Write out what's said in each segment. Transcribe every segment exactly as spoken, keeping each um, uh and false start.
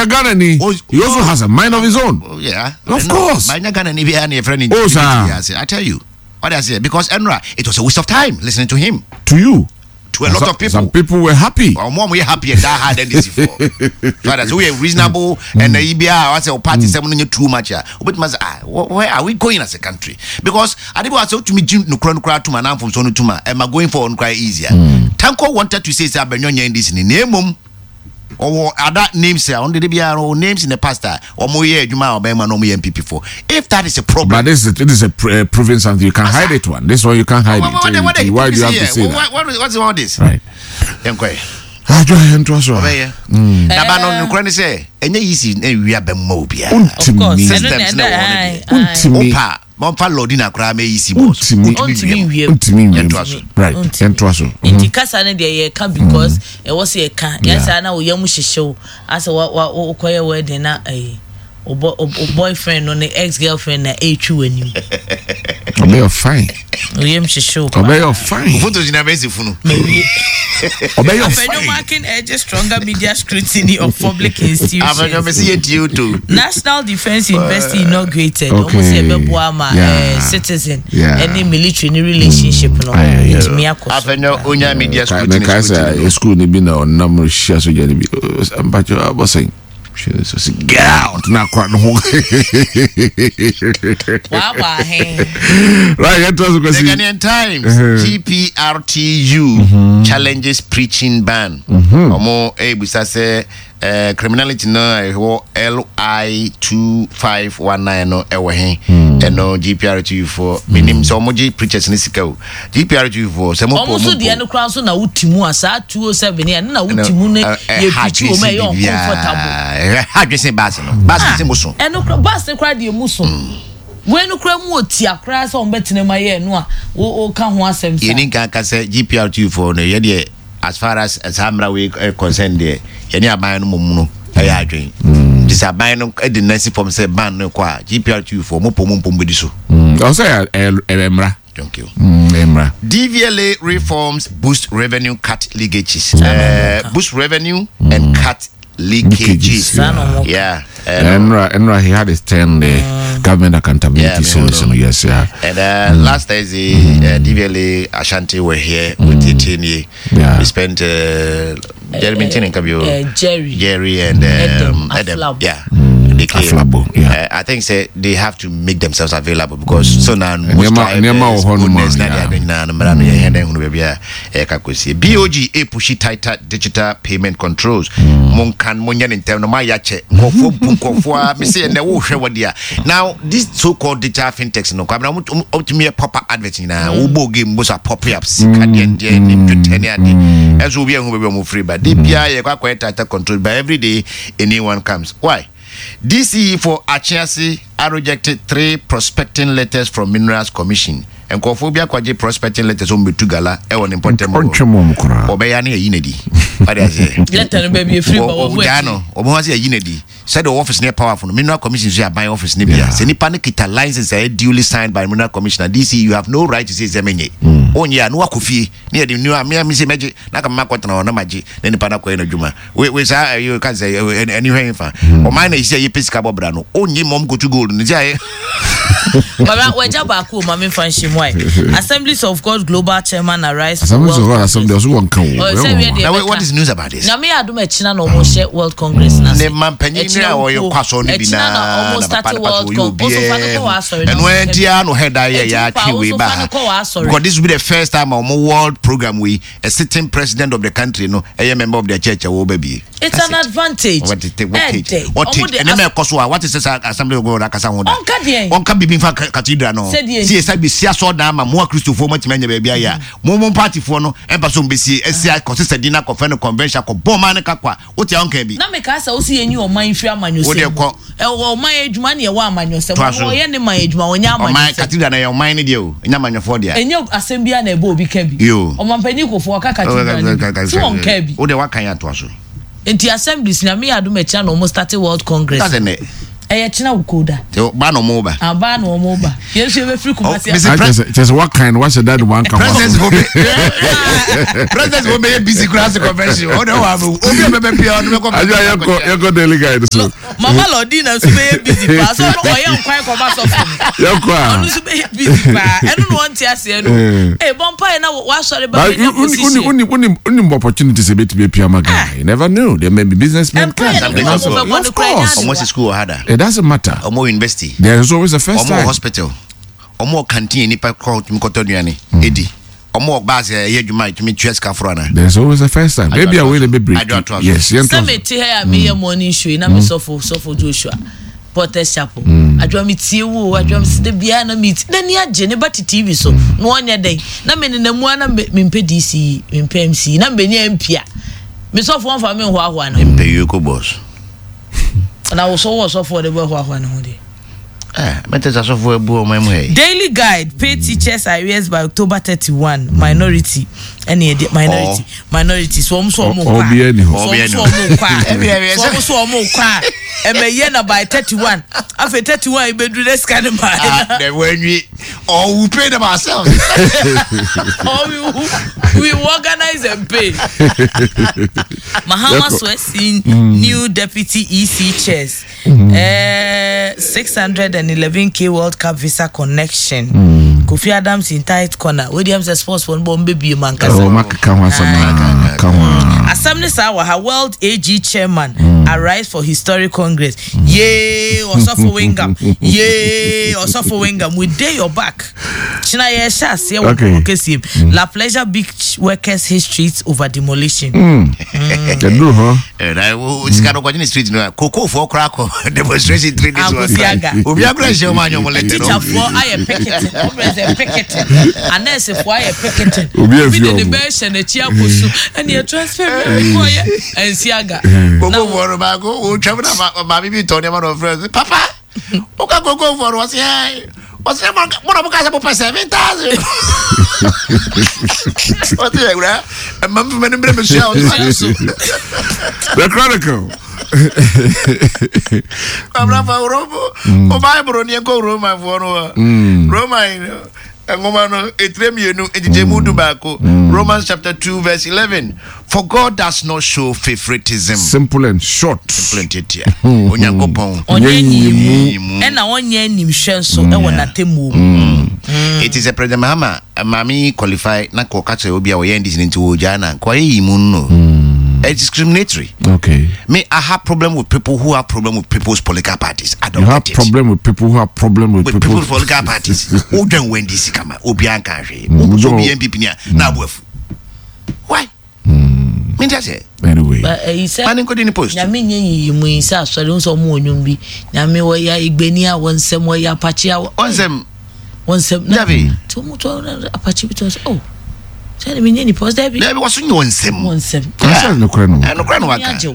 Ɔyɛ Ghana ni. Oh, He also has a mind of his own. Oh, yeah. Of course. But Ghana ni biara na yɛfrɛ no Oh, sir. integrity. I tell you. What I say because ɛnora it was a waste of time listening to him. To you. To a lot Some- of people. Some people were happy. Ɔmo a ɔmo yɛ happy and die hard N D C for. So that's we are reasonable and ɛyi bi a wasɛ o party sɛm no nye too much a obetuma sɛ, "Ah, wh- where are we going as a country?" Because ade bi wa sɛ otumi gyi nukura nukura tum anaa nfomso no tum a ɛma going forward nukura easier. Tanko wanted to say sɛ Abenyo nyɛ N D C ni na emom ɔwɔ other names a ɔno de biara ɔwɔ names in the past a ɔmo yɛ adwuma a ɔbɛn ma na ɔmo yɛ N P P for. If that is a problem. But this is it is a pr- uh, proving something. You can hide it one. This one you can't hide What- what- it. what- what- Why do you have to say what, that? What, what, what's all this? Right. Yɛn kɔ yɛ. Adwo yɛn to so. Ɔbɛyɛ naba no nokora ne sɛ ɛnyɛ easy na ewia bɛmma obiara. Of course. Untimi. Systems na ɛwɔ no deɛ. Untimi. Wopa mɔmfa lɔdi koraa ma easy bɔ so. Untimi. Ɔntumi nwie. Untimi nwie. Yɛntoa so. Right. Ɔntumi. Yɛntoa so. Nti kasa no deɛ yɛka because ɛwɔ sɛ yɛka. Yeah. Yɛsa na woyam hyehyew asɛ wokɔyɛ wedding na ɛyi wo bo- wo wo boyfriend no ne ex girlfriend na ɛretwi w'anim. Ɔbɛyɛ fine. Woyam hyehyew paa. Ɔbɛyɛ fine. Photos nyinaa bɛsi funu. Mawie. Ɔbɛyɛ Afenyo fine. Markin urges stronger media scrutiny of public institutions. Afenyo mɛsi yɛ tie o to. National Defence University inaugurated. Okay. Ɔmo sɛ ɛbɛboa ama Yeah. eh, citizen Yeah. ɛne military ne relationship no Aye, yeah. ɛtumi akɔ so. Afenyo onya media scrutiny Mɛka scrutiny. sɛ school ni bi na ɔnam hyia sogya ni bi mpakyɛ abɔsɛn sɛ get out na akora no ho. Waabɔ ahen. Right, yɛntoa so. The Kwasi. Ghanaian Times, Uh-huh. G P R T U challenges preaching ban. Ɔmo ebusa sɛ eh, criminality no a ɛwɔ L I two five one nine no ɛwɔ he? Ɛno G P R T U foɔ menim sɛ ɔmo gye preachers ne sika o. G P R T U foɔ sɛ mo Ɔmo po nso mo deɛ no koraa nso na woti mu a saa two oh seven yɛ no na woti mu ne yɛ preach wɔ mu a ɛyɛ uncomfortable. Ha adwene baasi no baasi no sɛ mo so. Ɛno kora bus ne kora deɛ mu so wei no kora mu wɔ tia koraa sɛ ɔmo bɛtena mu ayɛ no a wo wo ka ho asɛm sa. Yɛni nka ka sɛ G P R T U foɔ no yɛ deɛ, as far as saa mmara wei eh, concern deɛ, yɛne aban no mmom no ɛyɛ adwene nti sɛ aban no de nasi fam sɛ ban no kɔ a, G P R T U foɔ mopɔ mu mpom bɛdi so. Ɔsɛ ɛyɛ mmara. Thank you. Mm, mmara. D V L A reforms boost revenue, cut leakages. Uh, boost revenue and cut leakages. Leakages. Saa na ɔmo Yeah. Uh, Ɛnora ɛnora he had his turn the government accountability Yeah, me series hold no, yes, yeah. And uh, last Thursday, uh, D V L A Ashanti were here with the T N A. Yeah. We spent uh, Jeremy uh, Tinkabio, uh, Jerry. Jerry and um, Edem Edem. Aflabo. Yeah. They came. Aflabo, yeah. Uh, I think say they have to make themselves available because so now most Nneɛma- nneɛma wɔ hɔ nom a, goodness na yeah. they nyinaa no mmara no yɛhɛn dɛn hunu baabi a ɛka kɔsie. B O G a push tighter digital payment controls. Monkan monyɛ ne ntɛm no moayɛ akyɛ nkɔfoɔ bu nkɔfoɔ a mese ɛnɛ wohwɛ wɔ deɛ a now this so called digital fintechs no kwamina ɔmtumi yɛ pop up advert nyinaa wobɔ game bo so a pop up sika deɛ deɛ ne dwetɛ ne ade ɛnso obi ahu baabi a ɔmo firi ba de biara yɛkɔ akɔyɛ tighter control, but every day a new one comes. Why? D C E for Achiase are rejected three prospecting letters from Minerals Commission. Nkurɔfoɔ bi akɔgye prospecting letters wɔn bɛtu gala ɛwɔ ne mpɔtɛm hɔ. Ɔntwɛ mu ɔmo koraa. Ɔbɛyɛ ne yɛyi n'adi wade aseɛ. Letter no baabi efiri ba wɔ Ɔgyaa no ɔmo ho ase yɛyi n'adi sɛdeɛ ɔwɔ office no yɛ powerful no. Mineral Commission nso yɛ aban office no bia sɛ nipa no kita license a ɛyɛ duly signed by Mineral Commissioner, D C you have no right to say sɛ menyɛ onyɛ a na wakɔ fie ne yɛde new a mea me sɛ mɛgye na kama makɔtena hɔ na magye na nipa no akɔyɛ n'adwuma. we we saa ɛyɛ ka sɛ ɛni hwɛ fa ɔman na esi a yɛpɛ sika bɔ bra no onnye mɔm kotu gold no nti ayɛ. Baba wagya baako o, maame nfa nhyɛ mu ayi Assemblies of God Global Chairman arise for Assemblies of World God asɛm deɛ ɔso wɔn ka Oh, o. sɛ wie deɛ Na bɛka. what is news about this? Nyame yɛ adom ɛkyina na ɔmo hyɛ World Congress na Ne ma mpanyin ne a wɔyɛ kɔ asɔre no bi ɛkyina na naa ɔmo na start papa ne pastor World wɔyɛ Con ɔso fa no kɔ wɔ obiara asɔre na ɛno ɔmo ɛnti a no head ayɛ Ɛnti yɛ pa, atwe wei ɔso ba fa no kɔ wɔ asɔre. because this will be the first time a ɔmo world program wei a sitting president of the country no ɛyɛ member of the church a wɔba bie. It's an advantage. What it what Ɛdɛ. it what Ɔmo it de ɛnɛ as- mɛ ɛkɔ so a what is this Assembly of God akasa ho da? Ɔnka deɛn? Ɔnka bibi nfa ka- cathedral no. Sɛdeɛ? Si esa bi si asɔ dan ma mo akristofoɔ mo atumi anya baabi ayɛ a mo mo partyfoɔ no ɛmpa so mbɛsie ɛsi akɔsi sɛ di na akɔfɛ no convention akɔ bɔ ɔman ne kakɔ a wote a ɔnka bi. Na meka sɛ wosi yɛnyi ɔman firi amanyɔsɛm Wo deɛ kɔ. Ɛwɔ ɔman adwuma ne ɛwɔ amanyɔsɛm. Toa so. Ɔno ɔyɛ ne man adwuma, ɔnyɛ Ɔman amanyɔsɛm. Cathedral na yɛ ɔman ne deɛ o, ɛnyɛ amanyɔfoɔ deɛ. Ɛnyɛ asɛm biara na ɛbɔ obi ka bi. Yo. Ɔmanpanyin Kofoɔ ɔka cathedral no bi si wɔn ka bi. Wo deɛ waka yɛ atoa so. Nti Assemblies, Nyame yɛ adom ɛkyina na ɔmo start World Congress. That's ɛnɛ. Ɛyɛ kyena wo koda. Ba na ɔmo ba. Aba na ɔmo ba. Yɛn nso yɛbɛfiri Kumasi. Kyɛ sɛ wakan no wahyɛ da de wanka ho. President wo bɛ president wo bɛ yɛ busy kura ase convention ɔde wɔ abɛ obi a bɛbɛ pia ɔde bɛ kɔ. Adwo a yɛnkɔ yɛnkɔ daily guide so. Mama Lordina nso bɛyɛ busy paa so ɔno ɔyɛ nkwan kɔma sɔfo no. Yɛnkɔ a. Ɔno nso bɛyɛ busy paa ɛno na ɔnte aseɛ no. Ee bɔ mpa yɛ na wasɔre ba bɛ nya position. Wuni wuni wuni opportunity sɛ betumi apia ma Ghana. You never know, there may be businessmen can. Of course. Ɔmo si school wɔ ha da. It doesn't matter. Ɔmo university. There is always a first time. Ɔmo hospital. Ɔmo canteen nipa kɔ tumi kɔtɔ aduane edi. Ɔmo baasi ɛyɛ adwuma etumi tua sika foro ana. There is always a first time. Maybe a way to be break. Yes. Sɛ mi ti ha mi yɛ morning show yi na mi sɔfo sɔfo Joshua Porter's Chapel. Adwa mi tie wo adwa mi si de bia na mi ti na ni agye ne ba ti T V so na ɔnyɛ dɛn na mi nenam mu ana mi mpɛ D C mi mpɛ M C na mi bɛ nya M P a mi sɔfo wɔn fa mi nhoahoa ne ho. Mpɛ yoko boss. Na wo so wo sɔfo de bɛ hoahoa ne ho de. Eh, Daily Guide pay teachers arrears by October thirty-one. Minority, any minority, minority. So I'm so more. So so so more. And by thirty-one. After thirty-one, you be do this kind of money. Then when we or we pay them ourselves, or we we organize and pay. Mahama Swesin, new deputy E C chairs. Uh, six hundred and eleven K World Cup visa connection. Mm. Kofi Adams in tight corner. Williams sports for Bombe be man. Assembly Sawa World A G chairman mm. arrives for historic congress. Mm. Yay, Osofo Wengam. Yay, Osofo Wengam. We day your back. China okay. La Pleasure Beach workers his streets over demolition. Mm. Mm. Huh? Street Cocoa for crack demonstration three days. Teacher for I am picketing. Picketing. And nurse for I am picketing. We did the best and the chia and your transfer and Siaga. Go for Bago, travel my baby Tony, of Papa. Oka go go for was here. What's the one of us seven thousand? What's the The Chronicle. Romans chapter two verse eleven. For God does not show favoritism. Simple and short. Simple and titia. Onyankopɔn. Ɛna ɔnyɛ nimhwɛ nso ɛwɔ n'atemu. It is a President Mahama mami qualify na ko ka kyerɛ obi a ɔyɛ N D C nti wo gya na ko ayi mu no. It's discriminatory. Okay. Me, I have problem with people who have problem with people's political parties. I don't you have get it. Problem with people who have problem with, with people. people's political parties. Who don't win this kama? Obi anka hwe. Obi N P P ni na abuafu. Why? Me just say. Anyway. But uh, he said, man nko di post. Nyame nye yiyi mu isa asori nso mo onyum bi. Nyame wo ya igbeni a wonsem wo ya apache a wonsem. Wonsem. Dabi. To mo to apache bi to oh. Sɛ me nye nipa ɔsɛ bi. Dabi waso nye wɔnsɛm. Wɔnsɛm. Ɛsɛ nokora no. Nokora no waka. Agye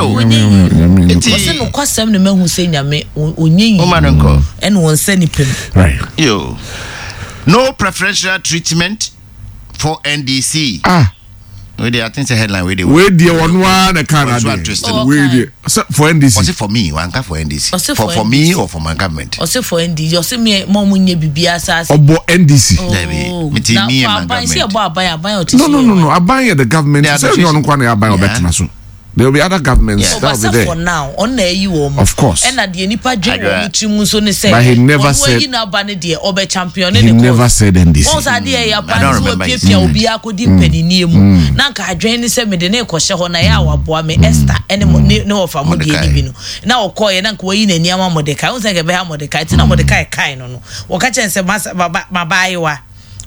o. Eti ɔsɛ nokwasɛm ne mahu sɛ Nyame onye yi. Ɔma no nkɔ. Ɛna wɔnsɛ nipa mu. Right. Yo. No preferential treatment for N D C. Ah. We dey I think say headline we dey. We dey one one the can ade. We dey for N D C. Was it for me? Wanka for N D C. For for me or for my government? Ose for N D C. Ose me mo munye bibia asase. Obo N D C. Debi. Me ti me and my government. No no no no. Aban the government. Say no no kwa na aban obetena so. There will be other governments yeah. that will be there. For now, on the of course. And at the nipa so ne say. But he never said. He never said N D C. I don't remember.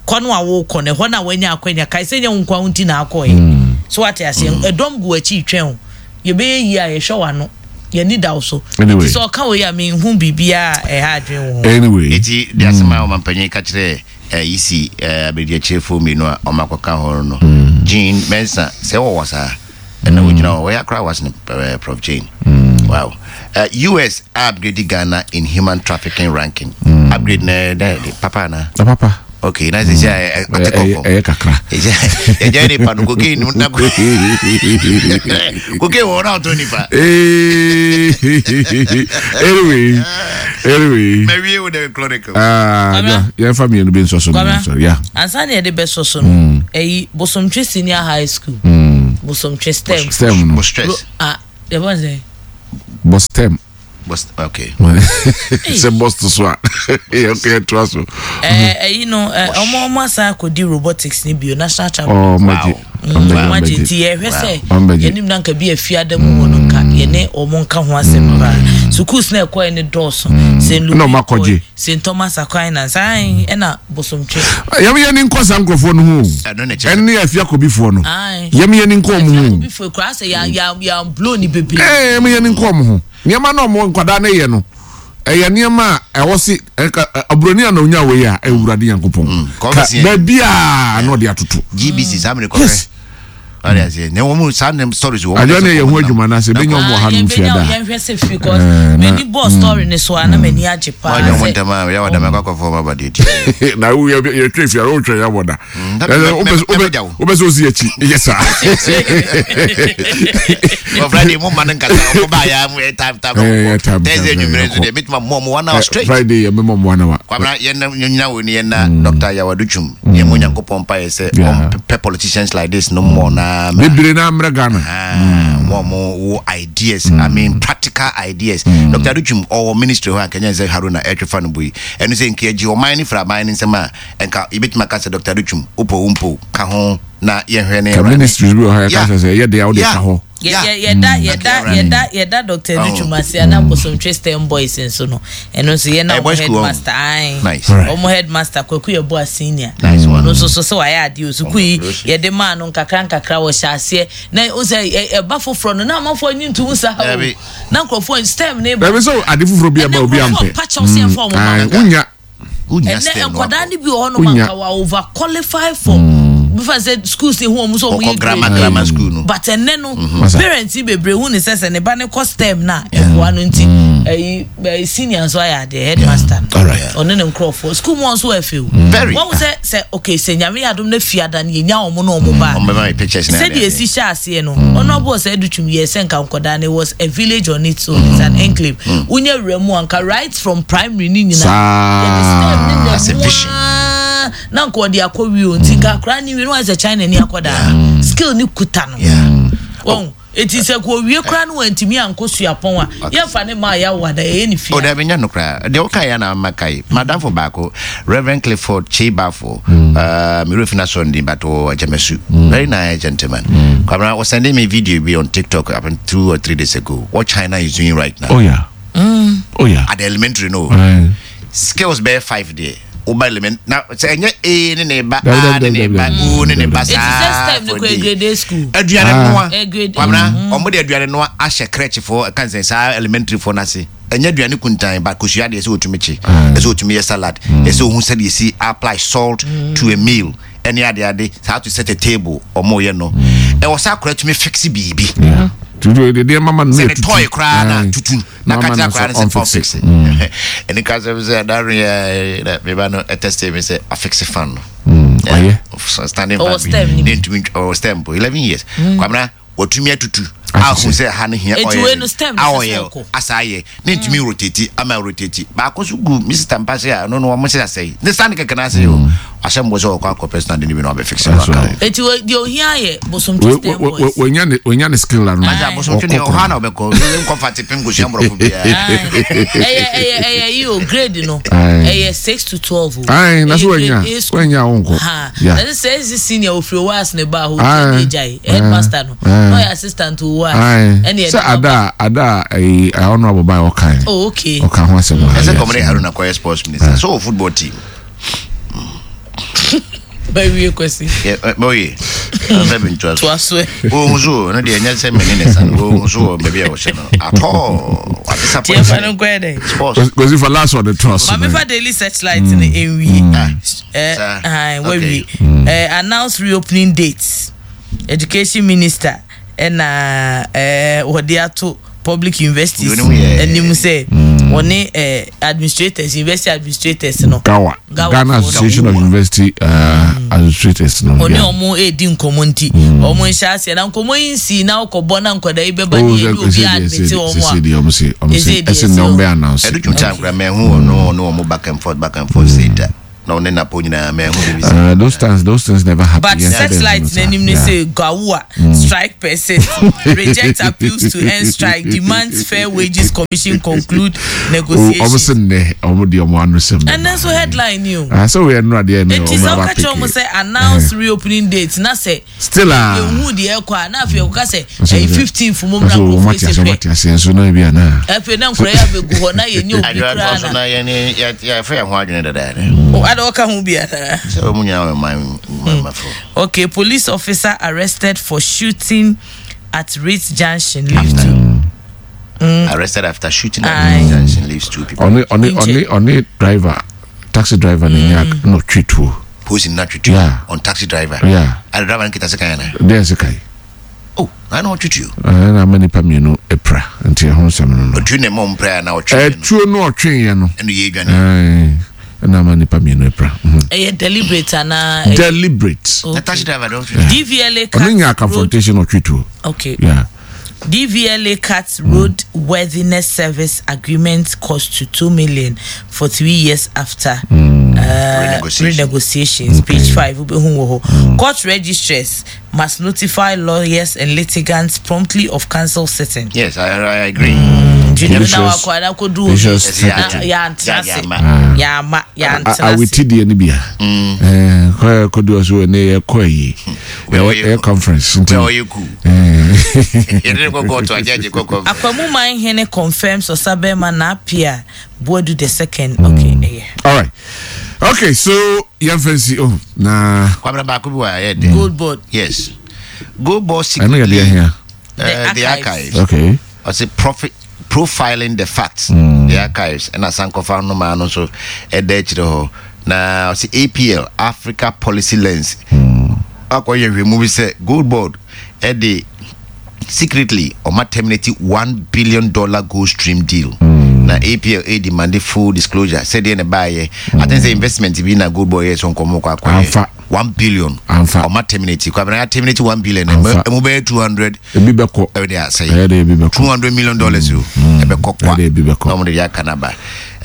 Kono awo kone ho na wanya akwanya kai se nya nkwa nti na akoi so what I say edom go achi twen ye be yi a ye hwe wano ye ni da so anyway so ka we ya me hu bibia e ha adwen wo anyway eti de asema o mampanyin ka kire E C abedi chefo mi no o makoka ho no Jean Mensa se wo wasa na wo gina wo ya kra was ne Prof Jane. Wow. Uh, U S upgrade Ghana in human trafficking ranking. Upgrade na papa na papa. Okay, na sisi atekofo. Eh kakra. Eh je ni panu cocaine na cocaine wo na to nipa. Eh. Anyway, anyway. Maybe with the chronicle. Ah, yeah, yeah, family no be so so. Sorry, yeah. Ansa na de be so so no. Eh, Bosomtwe Senior High School. Bosomtwe STEM. STEM no. Stress. Ah, the one say. Bos STEM. Bos okay. Say bos to so. Okay, trust so. Eh, eh, you know, eh, omo omo asa kodi robotics ni bio national champion. Oh, my. Imagine ti ye hwe se yenim na nka bi afiada mu ho no nka ye ne omo nka ho asem pa schools na ekoi ne dɔɔso Saint Louis no makoji Saint Thomas Aquinas ai e na Bosomtwe yam ye ni nkɔ sa nkrofo no ho ene afia kobifo no yam ye ni nkɔ mo ho kobifo kura se ya ya ya blow ni bebre eh yam ye ni nkɔ mo ho niam na omo nkwada na ye no ɛyɛ nneɛma a ɛwɔ se aburoni a na onya wei a ewurade Nyankopɔn ba bia na ɔde atoto G B C samre kɔfɛ ɔde ase ne wɔn mu saa stories wɔ adwa ne yɛ ho adwuma na se benya ɔmo ha no mfia da yɛn hwɛ se fi cause many boss story ne so ana mani agye pa ɔnyɛ wɔn ntɛm a yɛ wɔdam akɔ akɔfɔ ɔmo abade ti na wo yɛ yɛ twe fia wo twe ya wɔda wobɛ sɛ osi akyi yɛ saa wɔ Friday mo ma ne nkasa ɔmo ba ya mo time time Thursday nwumere nso deɛ metuma mo mo one hour straight Friday yɛ mɛmɔ mo one hour kwabra yɛn na nyina wo ni yɛn na Doctor Yawaduchum yɛn mo Nyankopɔn pa yɛ sɛ ɔmpɛ politicians like this no more na bebree na amra Ghana mo mo wo ideas I mean practical ideas Doctor Aduchum or ministry ho akanya sɛ Haruna etwefa no boy enu sɛ nka agye ɔman ne fra man ne nsɛm a enka ibetuma ka sɛ Doctor Aduchum opo umpo ka ho na yɛhwɛ ne ministry bi ho ya ka sɛ yɛ de a wo de ka ho yeah yeah that yeah that yeah that yeah that Doctor Aduchum ase ana Bosomtwe STEM boys nso no eno nso ye na headmaster ai omo headmaster Kwaku ye boa senior no so so so why ade osuku yi ye de ma no nkakra nkakra wo hyase na o se e ba foforo no na amafo anyi ntu nsa ha na nkrofo STEM ne ba so ade foforo bi aba obi ampe unya unya STEM enkoda ni bi ho no manka wa over qualify for before said school say who omo so we grammar grammar school no but enne no parents bebre hu ne sese ne ba ne ko STEM na eboa no nti eh senior so aya the headmaster ono ne nkrofo school mo so afi o won say say okay say nyame adom na fiada na yenya omo na omo ba say dey si sha ase no ono bo say Aduchum ye se nka nkoda ne was a village on its own, it's an enclave unya wura anka right from primary ni nyina as a vision na nko de akɔ wi o nti nka akra ni wi no as a China ni akoda skill ni kuta no won eti se ko wie kra no wantimi anko suapon a ye fa ne ma ya wada ye ni fia o da benya no kra de o kai ya na makai madam for baako Reverend Clifford Chibafo uh me refina Sunday but o Jamesu very nice gentleman kwamra was sending me video be on TikTok about two or three days ago what China is doing right now. Oh yeah. Mm. Oh yeah, at the elementary no skills be five day oba element na say enye a ne ne ba a ne ne ba o ne ne ba sa it's a step no grade school aduane noa kwamna omo de aduane noa ahye crèche for kan say sa elementary for na se enye aduane kuntan ba kosua de se otumi chi se otumi ye salad se ohun se de si apply salt to a meal any ade ade how to set a table omo ye no e wo sa akora tumi fix bibi tutu de de mama no tutu toy kra na tutu na katia kra na se fix eni ka se se that re me ba no test me say a fix fan no mm standing fan ni to or STEM eleven years kwamna wotumi atutu ahu se ha ne hia oil oil asa ye ne ntumi rotate ama rotate ba ko so gu Mister Mpase a no no mo se asai ne stand keke na ase yo asem bo so ko akọ personal de ni bi no be fix no aka eti de ohia ye Bosomtwe STEM boys we nya we nya ne skill la no aja Bosomtwe ne oha na obeko we comfort pem go sia mbrofo bia eh eh eh eh grade no eh six to twelve ai na so we nya we nya wonko na say senior ofri was ne ba ho jai headmaster no no your assistant to was any so ada ada eh honorable by okan oh okay okan ho asem e se komre Haruna koye sports minister so football team by we kwesi yeah boy I'm been to us oh so no dey nya se me ne san oh so baby e wo se no at all what disappointment sports because for last one the trust but me for daily searchlight in enwi eh eh we eh announce reopening dates education minister and uh eh wode ato public universities and you say Wɔne eh, administrators, university administrators no. Gawa, Gawa Ghana foɔ no. Association of University uh, Administrators no. Ɔne yeah. ɔmo edi nkɔmɔ nti ɔmo nhyɛ aseɛ na nkɔmɔ yi nsi na ɔkɔbɔ na nkɔda yi bɛba Oh, ne sɛ yɛde obi sɛ deɛ admit sɛ wɔn sɛ a deɛ ɔmo se ɔmo se Ɛsɛ deɛ ɛsɛ ɛsɛ na ɔmo o. bɛ announce. Ɛdo twum time kora mɛhu ɔno ɔno ɔmo back and forth, back and forth sei da na ɔne napo nyinaa mɛhu bibi sɛ Uh, those things those things never happen. But Yɛn sɛ dɛ satellite ɛno saa. n'anim ne Yeah. sɛ Gawua strike persist, reject appeals to end strike, demands Fair Wages Commission conclude Oh, ɔmo negotiations. se nnɛ ɔmo deɛ ɔmo ano sɛm. And then so headline ni o. Ah, sɛ woyɛ nnora deɛ ne Eti ɔmo sɛ aba ɔka kyerɛ ɔmo peke. sɛ announce reopening date na sɛ Still a. ehu deɛ ɛkɔ a na afei ɛkɔka sɛ Ɔsɛ ɛyɛ sɛ- fifteen fún mu na Ɔsɛ ɔmo nkurɔfoɔ ate esi ase, ɔmo hwɛ. ate ase nso na ebi ana. Afei na nkura yɛ abɛgu hɔ na yɛ nye obi adwene koraa atɔ so na na yɛne yɛfɛ yɛn ho adwene dadaada. O ada ɔka ho bi ana. Sɛ ɔmu nyinaa wɔ man mafo. Okay, police officer arrested for shooting at Ritz Junction leaves two. Arrested after shooting at Aye. the junction leaves two people. Ɔne ɔne ɔne ɔne driver, taxi driver ne nya na ɔtwe tuo. Post in natwe Yeah. on taxi driver. Yeah. Ade driver no kita sekan ana? Deɛ ɛsɛ kae. Oh, na na ɔtwe tuo. Ɛna ama nipa mmienu apira nti ɛho nsɛm no no. Ɔtwe ne mɔ mpra na ɔtwe no. Ɛtuo no ɔtweeɛ no. Ɛno yɛ adwane. Ɛɛ, ɛna ama nipa mmienu apira. Mhm. Ɛyɛ deliberate ana? ɛyɛ- Deliberate. Na taxi driver don ɔtwe. D V L A cut Ɔno nya road. confrontation, ɔtwe tuo. Okay. Yeah. D V L A cuts road worthiness service agreement cost to two million for three years after uh, Renegotiation. Renegotiations. Page five. Wobɛhu wɔ hɔ. Court registrars must notify lawyers and litigants promptly of council sitting. Yes, I, I agree. Nti na Delicious. wakɔ na akɔdu Delicious obi secretary. na yɛantena ase. Yɛama. Yɛama yɛantena ase. Aweti deɛ no bia kɔ kɔdu ɔso ɛne yɛkɔ ayi Wɛ- ɛyɛ conference nti Wɛ ɔyɛ ku. Yɛde ne kɔ court agye kɔ kɔ. Akwamu Manhene confirms Osabema Napia Boadu the second. Okay, ɛyɛ. All right, okay, so yɛmfa nsi oh na Kwabena baako bi wɔ a ɛyɛ den. Gold Board. Yes. Gold Board ɛno yɛ deɛ secretly hia. uh, The the archives. archives. Okay. Ɔsɛ profit profiling the facts. The archives ɛna sankɔfa no maa no nso ɛda akyire hɔ na ɔsɛ A P L, Africa Policy Lens, akɔyɛ hwɛmu bi sɛ Gold Board ɛde secretly ɔma terminate one billion dollar gold stream deal na A P L a demand full disclosure sɛdeɛ ne baayɛ. I think sɛ investment bi na Gold Board yɛ so nkɔmɔ kɔ akɔyɛ Amfa. one billion. Amfa. Ɔma terminate, Kwabena, ya terminate one billion. Amfa. Ɛmu bɛyɛ two hundred. Ebi bɛkɔ. Ɛbɛ de asɛe. Ɛyɛ de ebi bɛkɔ. two hundred million dollars o, ɛbɛkɔ kwa. Ɛde ebi bɛkɔ. Na ɔmo de yɛ aka naba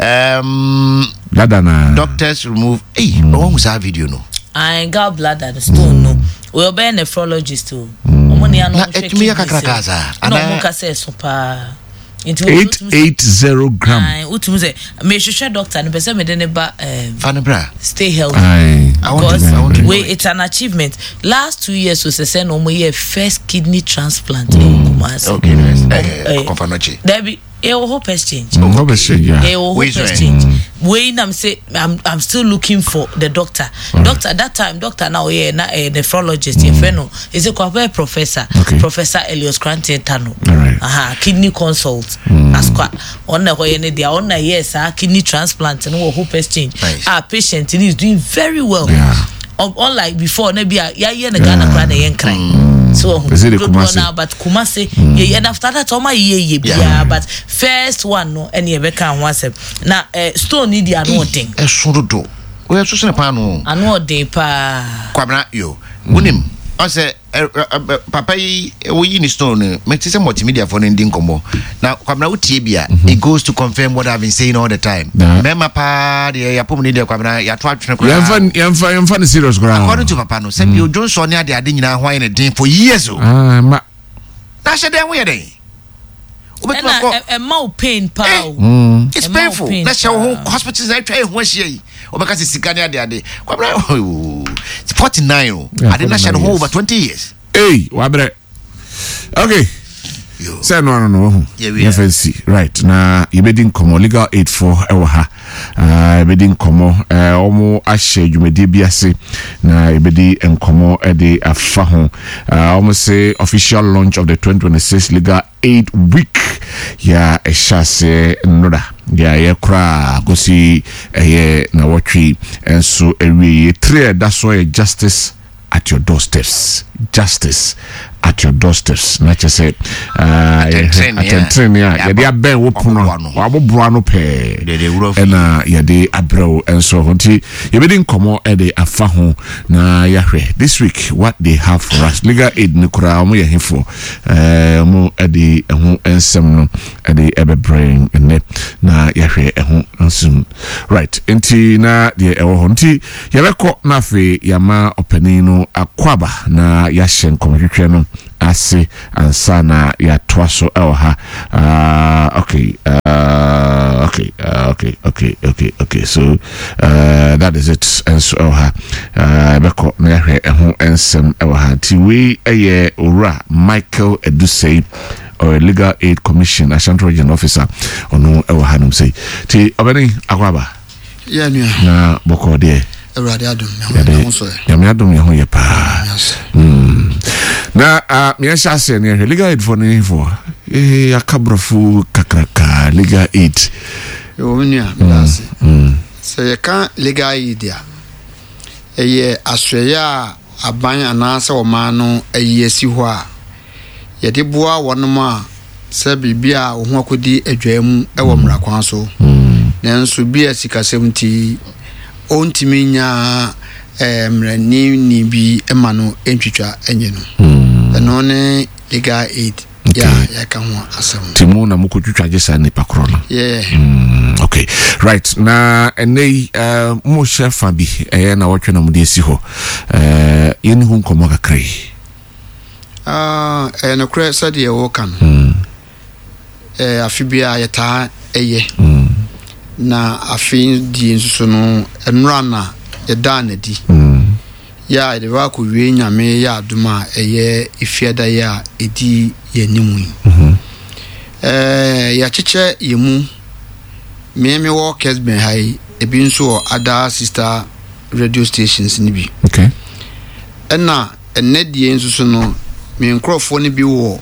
um, Dada na doctors remove eyi ɔwɔ hu saa video no. Ayi, gallbladder, the stone no. Oyɛ ɔbɛyɛ nephrologist o. Ɔmo ni ano Na ɔmo hwɛ ɛtumi yɛ kidneys kakraka no. saa? Na Anaa- ɔmo kasa ɛso paa. Nti eight eight zero gram. Ayi, wotumi sɛ mehwehwɛ doctor no pɛ sɛ mede ne ba um, Fa no bra. stay healthy. Aye. I want to- Because I want to know wait, it. it's an achievement. Last two years was sɛ na ɔmo yɛ first kidney transplant ɛwɔ Kumasi. Okay, nice. Eh, eh kɔfa no kye. Dabi, ɛwɔ Hope Exchange. Mm, Hope Exchange, yeah. Ɛwɔ Hope Wei so, eh? Exchange. Wei nam say I'm I'm still looking for the doctor. Doctor that time, doctor na ɔyɛ na ɛyɛ nephrologist, yɛfrɛ no is it kwabɛ professor. Okay. Professor Elias Kranten Tano. All right. Aha, kidney consult. Asqua ɔno na ɛhɔ yɛ ne deɛ ɔno na yɛ saa kidney transplant no wɔ Hope Exchange. Nice. Ah, patient no is doing very well. Yeah. Un- unlike before na bi a yɛayɛ no Ghana koraa na ɛyɛ nkran so ɔho Is it the dodoɔ Kumasi? naa, but Kumasi yɛ, and after that ɔma yɛ yie Yeah. biara, but first one no ɛne yɛbɛka ho asɛm na eh, stone ni di ano ɔden. Ɛso dodo, oyɛ so sene paano. Ano ɔden paa. Kwabena yo, wonim ɔsɛ ɛ, ɛ, ɛ, papa yi woyi ne stone no, mete sɛ multimediafoɔ no ndi nkɔmmɔ na Kwabena wotie bi a, it goes to confirm what I've been saying all the time. Na. Mmarima paa deɛ yɛapɔm ne deɛ, Kwabena, yɛato atwene koraa. Yɛmfa yɛmfa yɛmfa no serious koraa. According to papa no, sɛ bio dwonsɔ ne ade ade nyinaa ho ayɛ ne den for years o. Ah, ma Na hyɛ dɛn ho yɛ den wobɛtumi Ɛna akɔ ɛ- ɛma wo pain paa Eh. o. It's Ɛma wo painful pain na hyɛ wo ho paa. hospitals na atwa ɛho ahyia yi, wɔbɛka sɛ sika ne ade ade. Kwabena, forty-nine o. Yeah, ade na hyɛ ne ho forty-nine over twenty years. Ei, wabrɛ. Okay. Yo. Sɛ no ano no wahu. Yɛwie. Yɛmfa nsi right na yɛbɛdi nkɔmmɔ. Legal Aid foɔ ɛwɔ ha. Ah, yɛbɛdi nkɔmmɔ. Eh, ɔmo ahyɛ dwumadie bi ase na yɛbɛdi nkɔmmɔ ɛde afa ho. Ah, ɔmo se official launch of the twenty twenty-six Legal Aid Week yɛ ɛhyɛ aseɛ nnora yɛ yɛ koraa kɔsi ɛyɛ nawɔtwe nso awie. Three a ɛda so yɛ justice. at your doorsteps. Justice at your doorsteps. Na kyerɛ sɛ atɛntene a yɛde abɛn wo pono waboboa no pɛɛ ɛna yɛde abrɛ wo nso ho. Nti yɛbɛdi nkɔmmɔ ɛde afa ho na yɛahwɛ this week what they have for us. Legal aid no koraa, ɔmo yɛ hefoɔ? Ɔmo ɛde ɛho nsɛm no ɛde ɛbɛbrɛ nnɛ na yɛahwɛ ɛho nsɛm. Right, nti na deɛ ɛwɔ hɔ nti yɛbɛkɔ na afei yɛama ɔpanin no akɔaba na yɛahyɛ nkɔmmɔtwetwe no ase ansa na yɛatoa so ɛwɔ ha. uh, okay uh, okay uh, okay okay okay okay so uh, that is it nso ɛwɔ ha. Yɛbɛkɔ na yɛahwɛ ɛho nsɛm ɛwɔ ha. Nti wei ɛyɛ Owura Michael Edusei, or Legal Aid Commission Ashanti Region officer. Ɔno ɛwɔ ha nom sei. Nti ɔbɛne akɔaba. Yɛ nua. Na bɔkɔɔ deɛ? Awurade adom. Yɛde ho so ɛ. Nyame adom, yɛ ho yɛ paa. Mm. na uh, meɛhyɛ aseɛ ne yɛhwɛ legal aid foɔ no foɔ eh, aka borɔfo kakraka, legal aid. Ɛwɔ me nua, meda ase. Sɛ yɛka legal aid a, ɛyɛ asoɛeɛ a aban anaasɛ ɔman no ayi asi hɔ a yɛde boa wɔnom a sɛ biribi a wo ho akɔdi adwaa mu ɛwɔ mmara kwan so, nanso bi a sikasɛm nti ɔntumi nya eh, mmaranini bi ma no ntwitwa nyɛ no. Ɛno ne legal aid yɛ a yɛka ho asɛm. Nti mu na mokɔtwitwa gye saa nnipa korɔ no? Yeah. Mm, okay, right. Na ɛnɛ yi uh, mohyɛ fa bi ɛyɛ na wɔtwe na mode asi hɔ. uh, yɛne ho nkɔmmɔ kakra yi. Ah, ɛyɛ nokorɛ sɛdeɛ wɔka no. Mm, Eh, afe biara yɛtaa ɛyɛ mm, na afe die nso so no, ɛnora na yɛdaa n'adi mm, yɛ a yɛde bɛ akɔwie. Nyame yɛ adom a, ɛyɛ efiada yi a ɛdi yɛn anim yi. mhm, Ɛɛ, yɛakyekyɛ yɛn mu. Me mewɔ Kesben ha yi, ebi nso wɔ other sister radio stations no bi. Okay ɛna ɛnɛ deɛ nso so no, me nkurɔfoɔ no bi wɔ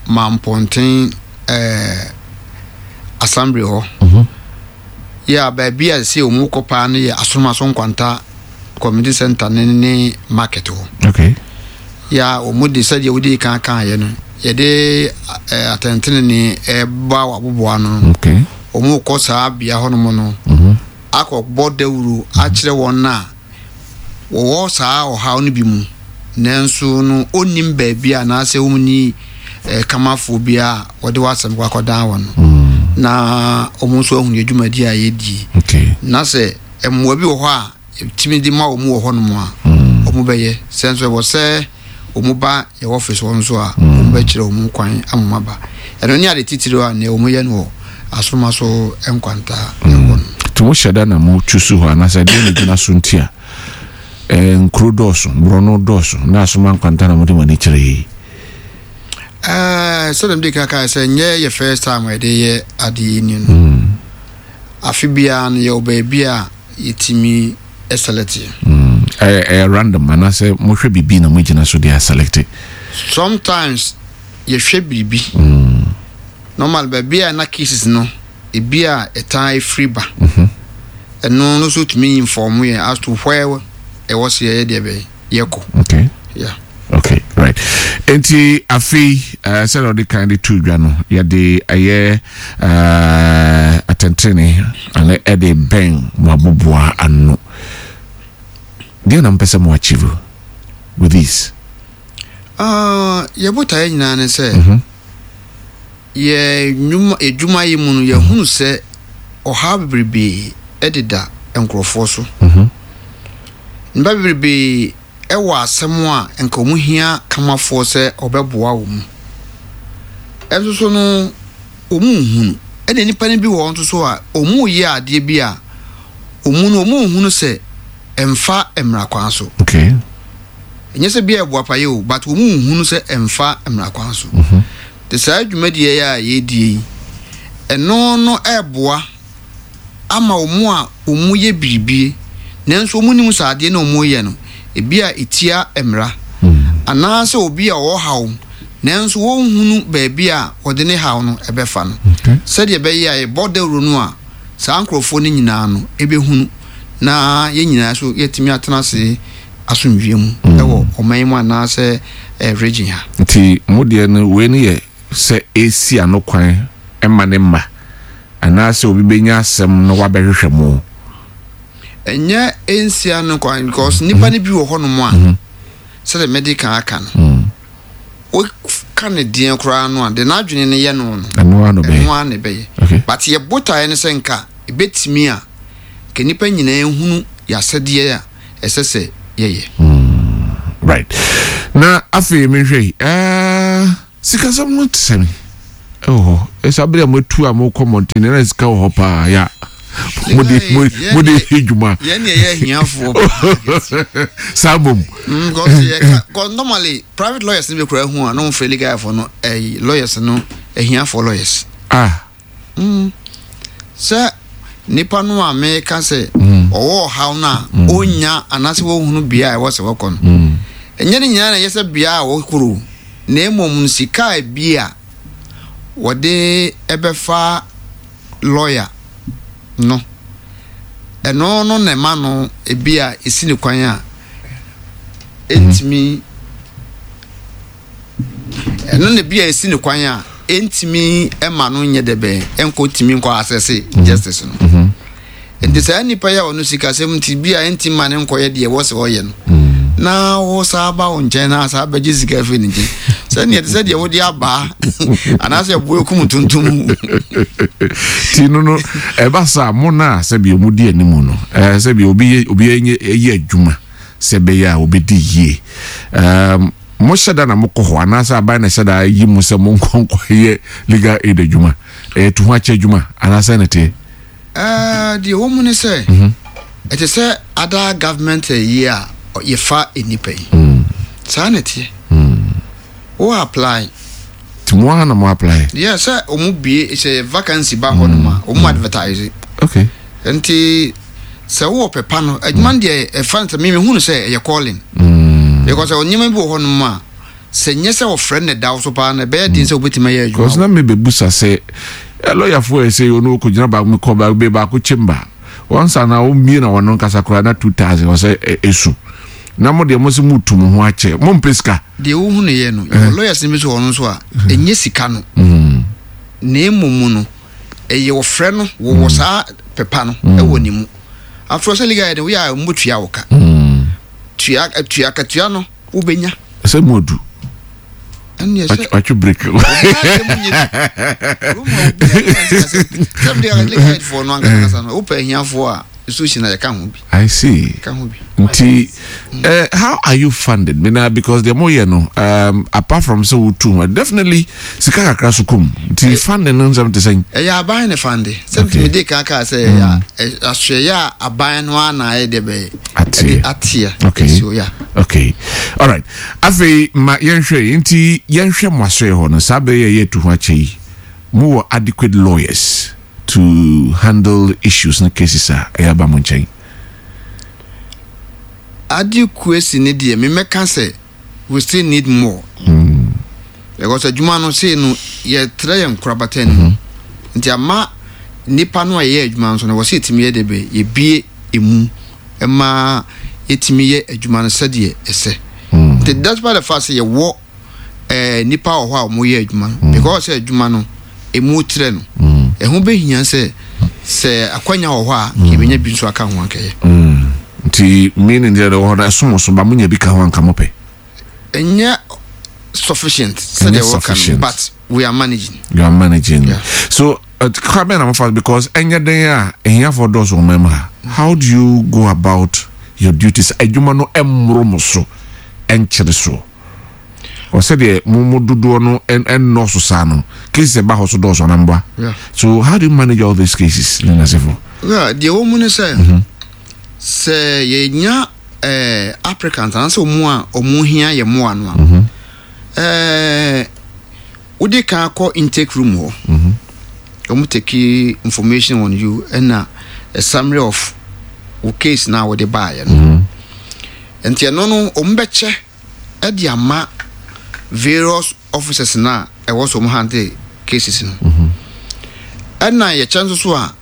Mampɔnten ɛɛ assembly hɔ. Mhm. Yɛ a baabi a sɛ wɔn kɔ paa no yɛ Asomaso Nkwanta community center ne ne market hɔ. Okay yɛ a wɔn de sɛdeɛ wɔde kan kan yɛ no, yɛde ɛɛ atɛntɛnene ɛba wɔ ano no, okay wɔn kɔ saa bea hɔnom no mhm, akɔbɔ dawuro akyerɛ wɔn a wɔwɔ saa ɔhaw no bi mu, nanso no ɔnnim baabi a anaasɛ wɔn ni ɛɛ kamafoɔ bi a wɔde wɔn asɛm kɔ akɔdan wɔn no, mm, na wɔn nso ahunu adwumadi a yɛdie okay na sɛ mmoa bi wɔ hɔ a yɛtumi de ma wɔn wɔ hɔnom a, mm, wɔn bɛyɛ. Sɛ nso ɛwɔ sɛ wɔn ba yɛ office hɔ nso a, wɔn bɛkyerɛ wɔn kwan ama wɔn aba. Ɛno ne ade titiri a nea wɔn yɛ no wɔ Asoma so Nkwanta ɛhɔ no. Nti mohyɛ da na motwu so hɔ anaasɛ deɛ ne gyina so nti a eh, nkuro dɔɔso, borɔno dɔɔso, na Asoma Nkwanta na mode mo ani kyerɛ yi? Ɛɛ, sɛdeɛ mede kaka sɛ nyɛ yɛ first time a yɛde yɛ adeɛ yi ni no, Mm, afe biara no yɛwɔ baabi a yɛtumi select. mm. ɛyɛ ɛyɛ random anaasɛ mohwɛ biribi na mogyina so de aselect? Sometimes yɛhwɛ biribi. Mm, Normal baabi a na cases no ebi a ɛtaa efiri ba, mhm. ɛno no nso tumi inform yɛn as to where ɛwɔ sɛ yɛyɛ deɛ bɛyɛ yɛkɔ. Okay yeah. Okay, right. Nti afei uh, sɛdeɛ ɔde kan de to dwa no, yɛde ɛyɛ uh, atɛntene ane ɛde bɛn mo aboboa ano. Deɛ na mpɛ sɛ mo achieve with this? Uh, yɛbotaeɛ nyinaa ne sɛ Mhm. yɛ nnwuma edwuma yi mu no, yɛhunu sɛ ɔhaw bebrebe ɛdeda nkurɔfoɔ so. Mhm. Nnipa bebrebe ɛwɔ asɛm a nka wɔn hia kamafoɔ sɛ ɔbɛboa wɔn mu, ɛnso so no wɔn nhunu. Ɛna nnipa no bi wɔ hɔ nso so a wɔn reyɛ adeɛ bi a wɔn no wɔn nhunu sɛ ɛmfa mmara kwan so. Okay ɛnyɛ sɛ bi a ɛboa pa yɛ o, but wɔn nhunu sɛ ɛmfa mmara kwan so. Mhm. Te saa dwumadie yi a yɛredie yi, ɛno no ɛɛboa ama wɔn a wɔn yɛ biribie nanso wɔn nim sɛ adeɛ na wɔn yɛ no ebi a etia mmara, Mm. anaasɛ obi a ɔwɔ haw nanso wɔnhunu baabi a wɔde ne haw no ɛbɛfa no, Okay sɛdeɛ ɛbɛyɛ a yɛbɔ dawuro no a, saa nkurɔfoɔ no nyinaa no ɛbɛhunu na yɛn nyinaa so yɛtumi atena ase asomdwie mu ɛwɔ Ɛwɔ ɔman mu anaasɛ eh, region ha. Nti mo deɛ no, wei no yɛ sɛ esi ano kwan ɛma ne mma anaasɛ obi bɛnya asɛm no wabɛhwehwɛ mo? Ɛnyɛ nsia no kwan, because nipa no bi wɔ hɔnom a, sɛdeɛ mɛde kan aka no, woka ne deɛ koraa no a, de n'adwene no yɛ no no Ɛno ano bɛyɛ. Ɛno ara na ɛbɛyɛ. Okay. But yɛ botaeɛ no sɛ nka ɛbɛtumi a nka nipa nyinaa hunu yɛasɛdeɛ a ɛsɛ sɛ yɛyɛ. Right, na afei mehwɛ yi, ɛɛ sikasɛm no te sɛ ɛwɔ hɔ ɛsɛ abere a moatu a mokɔ mmɔnten na sika wɔ hɔ paa ya mode mode yɛ dwuma? Yɛn ne yɛyɛ ahiafoɔ paa. Saa bom. Mm, because yɛka, because normally private lawyers no bi koraa hu a na wɔmfrɛ legal foɔ no, ɛyi, lawyers no, ahiafoɔ lawyers. Ah. Mm. Sɛ nipa no a meka sɛ ɔwɔ ɔhaw no a ɔnya anaasɛ wɔhunu bea a ɛwɔ sɛ wɔkɔ no, ɛnyɛ ne nyinaa na ɛyɛ sɛ bea a wɔkoro, na mmom no sika a bi a wɔde ɛbɛfa lawyer no, ɛno no na ɛma no ebi a esi ne kwan a ɛntumi, ɛno na bi a esi ne kwan a ɛntumi ɛma no nyɛ dɛ bɛn ɛnkɔ tumi nkɔ asɛse justice no. Nti saa nipa yi a ɔno sikasɛm nti bi a ɛntumi ma ne nkɔyɛ deɛ ɛwɔ sɛ ɔyɛ no, na wo saa ba wo nkyɛn na saa bɛgye sika afiri ne nkyɛn, sɛdeɛ te sɛ deɛ wode abaa anaasɛ ɛboa kum tuntum. Ti no no ɛba saa mo no a, sɛbi ɔmo di anim no, ɛɛ sɛbi obi yɛ obi yɛ yɛ adwuma sɛ ɛbɛyɛ a obɛdi yie, ɛɛm mo hyɛ da na mo kɔ hɔ anaasɛ aban na hyɛ da yi mo sɛ mo nkɔ nkɔ yɛ legal aid adwuma, ɛyɛ tu ho akyɛ adwuma anaasɛ ne teɛ? Ɛɛ, deɛ wɔ mu ne sɛ ɛte sɛ other government yi a yɛfa nnipa yi, saa na ɛteɛ, wo apply. Nti mo ara na mo apply? Yɛ sɛ ɔmo bie sɛ vacancy ba hɔ nom a, ɔmo advertise. Okay nti sɛ wowɔ pɛpa no, adwuma no deɛ, ɛfa no sɛ meme hu no sɛ ɛyɛ calling, because nneɛma bi wɔ hɔ nom a, sɛ nyɛ sɛ wɔfrɛ no da wo so paa no, ɛbɛyɛ den sɛ wobɛtumi ayɛ because adwuma. Na mebɛbusa sɛ ɛ lɔyafoɔ yɛ sɛ ɔno ɔkɔgyina baako, mekɔ baako bɛ baako chamber wɔnsa na wɔmmie na wɔno nkasa koraa na two thousand wɔ sɛ ɛ- ɛsu na mo deɛ mo sɛ motu mo ho akyɛ, mompɛ sika. Deɛ wohu no yɛ no, yɛwɔ lawyers no bi so wɔ no nso a ɛnyɛ sika no, na mmom no ɛyɛ wɔfrɛ no, wɔwɔ saa pɛpa no ɛwɔ ne mu. Afei sɛ legal aid woyɛ a, mbɔtua wo ka, tua tua katua no wobɛnya. Sɛ mo adu Ɛneɛ sɛ watwe break. Obiara deɛ mu nyɛ bi. Kurom ha obiara deɛ sɛ sɛ legal aid foɔ no ankasa no, wopɛ ahiafoɔ a, institution na yɛka ho bi. I see. Ka ho bi. Nti uh, how are you funded, Mina? Because deɛ moyɛ no, um, apart from sɛ wotu ho, definitely sika kakra so kom, nti funding no nsɛm te sɛn? Ɛyɛ aban ne fund, sɛ Okay. ntumi de kan kaa sɛ ɛyɛ asoɛyɛ a aban no ara na ayɛ deɛ bɛyɛ Ateɛ. ɛde ateɛ. Okay. Ɛsi hɔ, yeah. Okay, alright, afei ma yɛnhwɛ yi, nti yɛnhwɛ mo asoɛ hɔ no, saa bɛyɛ yɛ tu ho akyɛ yi, mowɔ adequate lawyers to handle issues no, cases a ɛyɛ aba mo nkyɛn? Adequacy ne deɛ, memɛka sɛ we still need more, because adwuma no sei no, yɛtrɛ yɛn nkorabata no mu, nti ama nipa no a yɛyɛ adwuma nso no, wɔ sɛ yɛtumi yɛ de bɛ yɛbie emu ɛma yɛtumi yɛ adwuma no sɛdeɛ ɛsɛ. Nti despite the fact sɛ yɛwɔ ɛɛ nipa wɔ hɔ a wɔyɛ adwuma no, because sɛ adwuma no emu trɛ no, ɛho bɛhia sɛ sɛ akwanya wɔ hɔ a, yɛbɛnya bi nso aka ho ankɛyɛ. Nti meaning deɛ ɛwɔ hɔ no ɛsom so ba, monya bi ka ho anka mopɛ? Ɛnyɛ sufficient sɛdeɛ wɔka no, sufficient. but we are managing. You are managing. Yeah. So uh, kwan bɛn na mofa, because ɛnyɛ den a ɛhiafoɔ dɔɔso wɔ man mu ha, how do you go about your duties, adwuma no ɛmmoro mo so, ɛnkyere so, ɔsɛdeɛ mo mo dodoɔ no ɛn- ɛnnɔɔso saa no, cases ɛba hɔ so dɔɔso anamboa? Yeah. So how do you manage all these cases ne nasefo? Yeah, deɛ wɔ mu ne sɛ sɛ yɛnya eh, applicant anaasɛ ɔmu a ɔmu hia yɛ mmoa no a, eh, wode kan kɔ intake room hɔ, ɔmu take information on you ɛna a summary of wo case na wode baeɛ no. Nti ɛno no, ɔmu bɛkyɛ ɛde ama various officers na ɛwɔ so ɔmu handle cases no. Ɛna yɛkyɛ nso so a,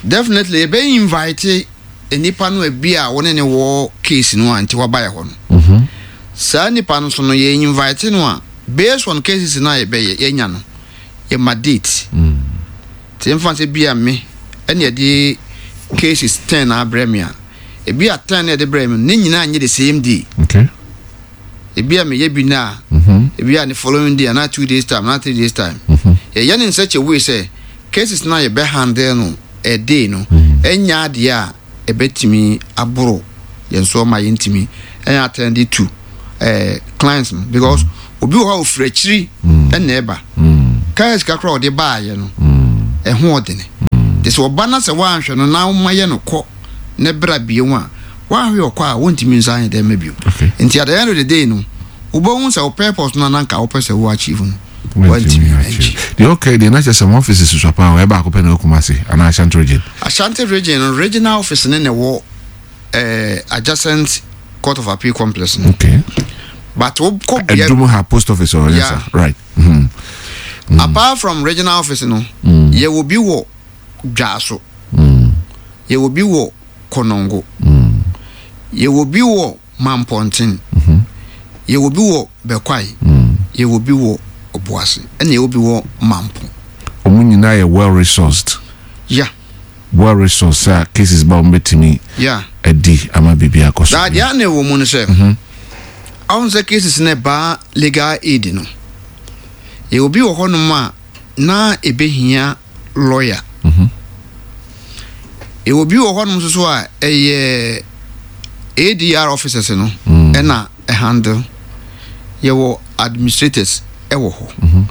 definitely yɛbɛ invite nipa no ebi a wɔne ne wɔ case no a nti waba yɛ hɔ no. Saa nipa no so no, yɛ invite no a, based on cases na yɛbɛyɛ yɛnya no, yɛma date. Nti mfa sɛ bi a me ɛne yɛde cases ten na abrɛ me a, ebi a ten na yɛde brɛ me no, ne nyinaa nyɛ the same day. Okay ebi a meyɛ bi na mm-hmm. ebi a ne following day anaa two days time anaa three days time. Yɛyɛ ne in such a way sɛ cases na yɛbɛ handle no a day no, ɛnya adeɛ a ɛbɛtumi aboro yɛn so ama yɛntumi ɛnyɛ attend to ɛɛ clients no, because obi wɔ hɔ a ofiri akyiri ɛna ɛba kaa sika koraa a ɔde baayɛ no ɛho ɔdene. Te sɛ ɔba na sɛ woanhwɛ no na woma yɛ no kɔ ne bra bio a, woanhwɛ ɔkɔ a, wontumi nsa anyɛ dɛ ma bio. Okay. Nti at the end of the day no, wobɛhu sɛ wo purpose no ananka wopɛ sɛ wo achieve no, wantumi woantumi achieve deɛ. Okay, deɛ na kyerɛ sɛ mo office susua paa, ɔyɛ baako pɛ na ɛwɔ Kumase anaa Ashanti Region? Ashanti Region no, regional office ne na ɛwɔ eh, adjacent Court of Appeal complex no. Okay but wokɔ bea Ɛdum ha, post office ɔyɛ. Yeah. Sa right mm. Apart from regional office no, yɛwɔ bi wɔ Dwaso, yɛwɔ bi wɔ Kɔnɔngo, yɛwɔ bi wɔ Mampɔnten, yɛwɔ bi wɔ Bɛkwae, yɛwɔ bi wɔ Ɔboase, ɛna yɛwɔ bi wɔ Mampo. Ɔmo nyinaa yɛ well resourced? Yeah. Well resourced a cases ba, ɔmo bɛtumi yeah adi ama biribi akɔ so. Na deɛ na ɛwɔ mu no sɛ ɔho sɛ cases no ɛbaa Legal Aid no, yɛwɔ bi wɔ hɔnom a na ɛbɛhia lawyer, yɛwɔ bi wɔ hɔnom nso so a ɛyɛ A D R officers no ɛna ɛhandle. Yɛwɔ administrators ɛwɔ hɔ,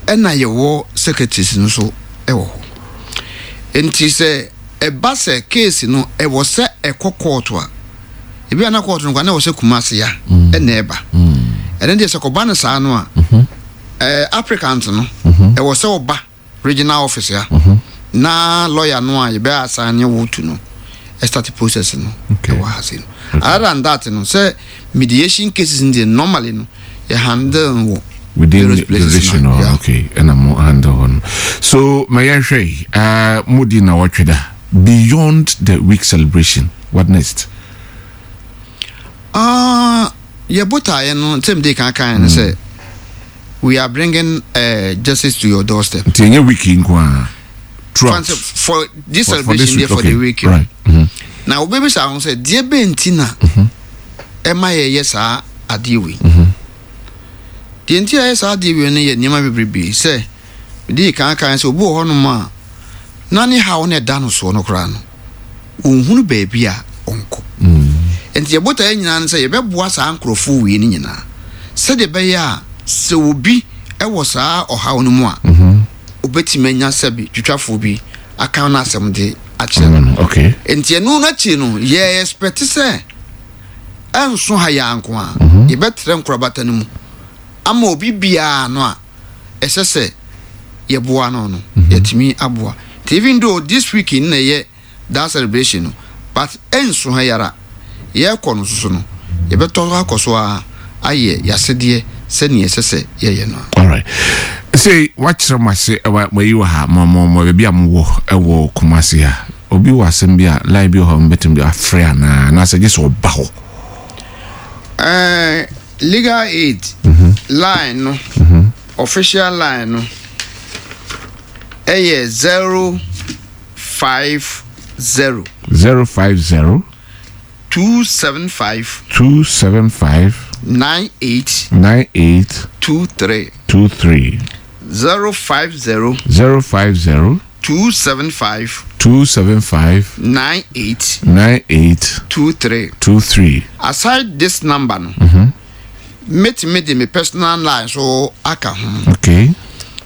ɛna yɛwɔ secretaries no nso ɛwɔ hɔ. Nti sɛ ɛba sɛ case no ɛwɔ sɛ ɛkɔ court a, ebi a na court no kwa na ɛwɔ sɛ Kumase ya ɛna ɛba. Ɛno deɛ, sɛ kɔba no saa no a, ɛɛ applicant no ɛwɔ sɛ ɔba regional office ya na lawyer no a yɛbɛ assign wo to no ɛstart process no. Okay. Ɛwɔ ha se no, other than that no, sɛ mediation cases no deɛ, normally no yɛ handle no wɔ within various the places region na, no. Yeah. Okay, ɛna mo handle hɔ no so, ma yɛnhwɛ yi, uh, modi na wɔtwe da. Beyond the week celebration, what next? Ah, yɛ botaeɛ no sɛ mede kan kan no sɛ we are bringing uh, justice to your doorstep. Nti ɛnyɛ week yi nko a, throughout? Fancy for this For- for this celebration week, there, for okay. the week. Right mm-hmm. Na wobɛbisa ho sɛ deɛ bɛn nti na ɛma yɛyɛ saa adeɛ wei. Deɛ nti a yɛyɛ saa adeɛ wei no yɛ nneɛma bebrebe. Sɛ mede kan kan sɛ obi wɔ hɔnom a na ne haw no ɛda no soɔ no koraa no, ɔnhunu baabi a ɔnkɔ. Nti yɛbotaeɛ nyinaa no sɛ yɛbɛboa saa nkurɔfoɔ wei no nyinaa sɛdeɛ ɛbɛyɛ a sɛ obi ɛwɔ saa ɔhaw no mu a, obɛtumi anya sɛbi twitwafoɔ bi aka no asɛm de akyerɛ no. Mm, okay Nti ɛno no akyi no, yɛ expect sɛ ɛnso ha yɛ anko a, yɛbɛtrɛ nkorabata no mu ama obi biara no a ɛsɛ sɛ yɛboa no no yɛtumi aboa. Nti even though this week na ɛyɛ that celebration no, but ɛnso ha yara, yɛrekɔ no soso no, yɛbɛtɔ akɔ so a ayɛ yɛasedeɛ sɛnea ɛsɛ sɛ yɛyɛ no a. Alright, sɛ wakyerɛ mo ase, ɛwɔ mayi wɔ ha, mo mo mo baabi a mowɔ ɛwɔ Kumase ha, obi wɔ asɛm bi a, line bi wɔ hɔ a mbɛtumi de afrɛ anaa anaasɛ gye sɛ ɔba hɔ? Ɛɛ, Legal Aid line no, official line no ɛyɛ zero five zero zero five zero two seven five two seven five nine eight nine eight two three. two three. zero five zero zero five zero two seven five two seven five nine eight nine eight two three. two three. Aside this number no, mɛtumi de me personal line so aka ho Okay.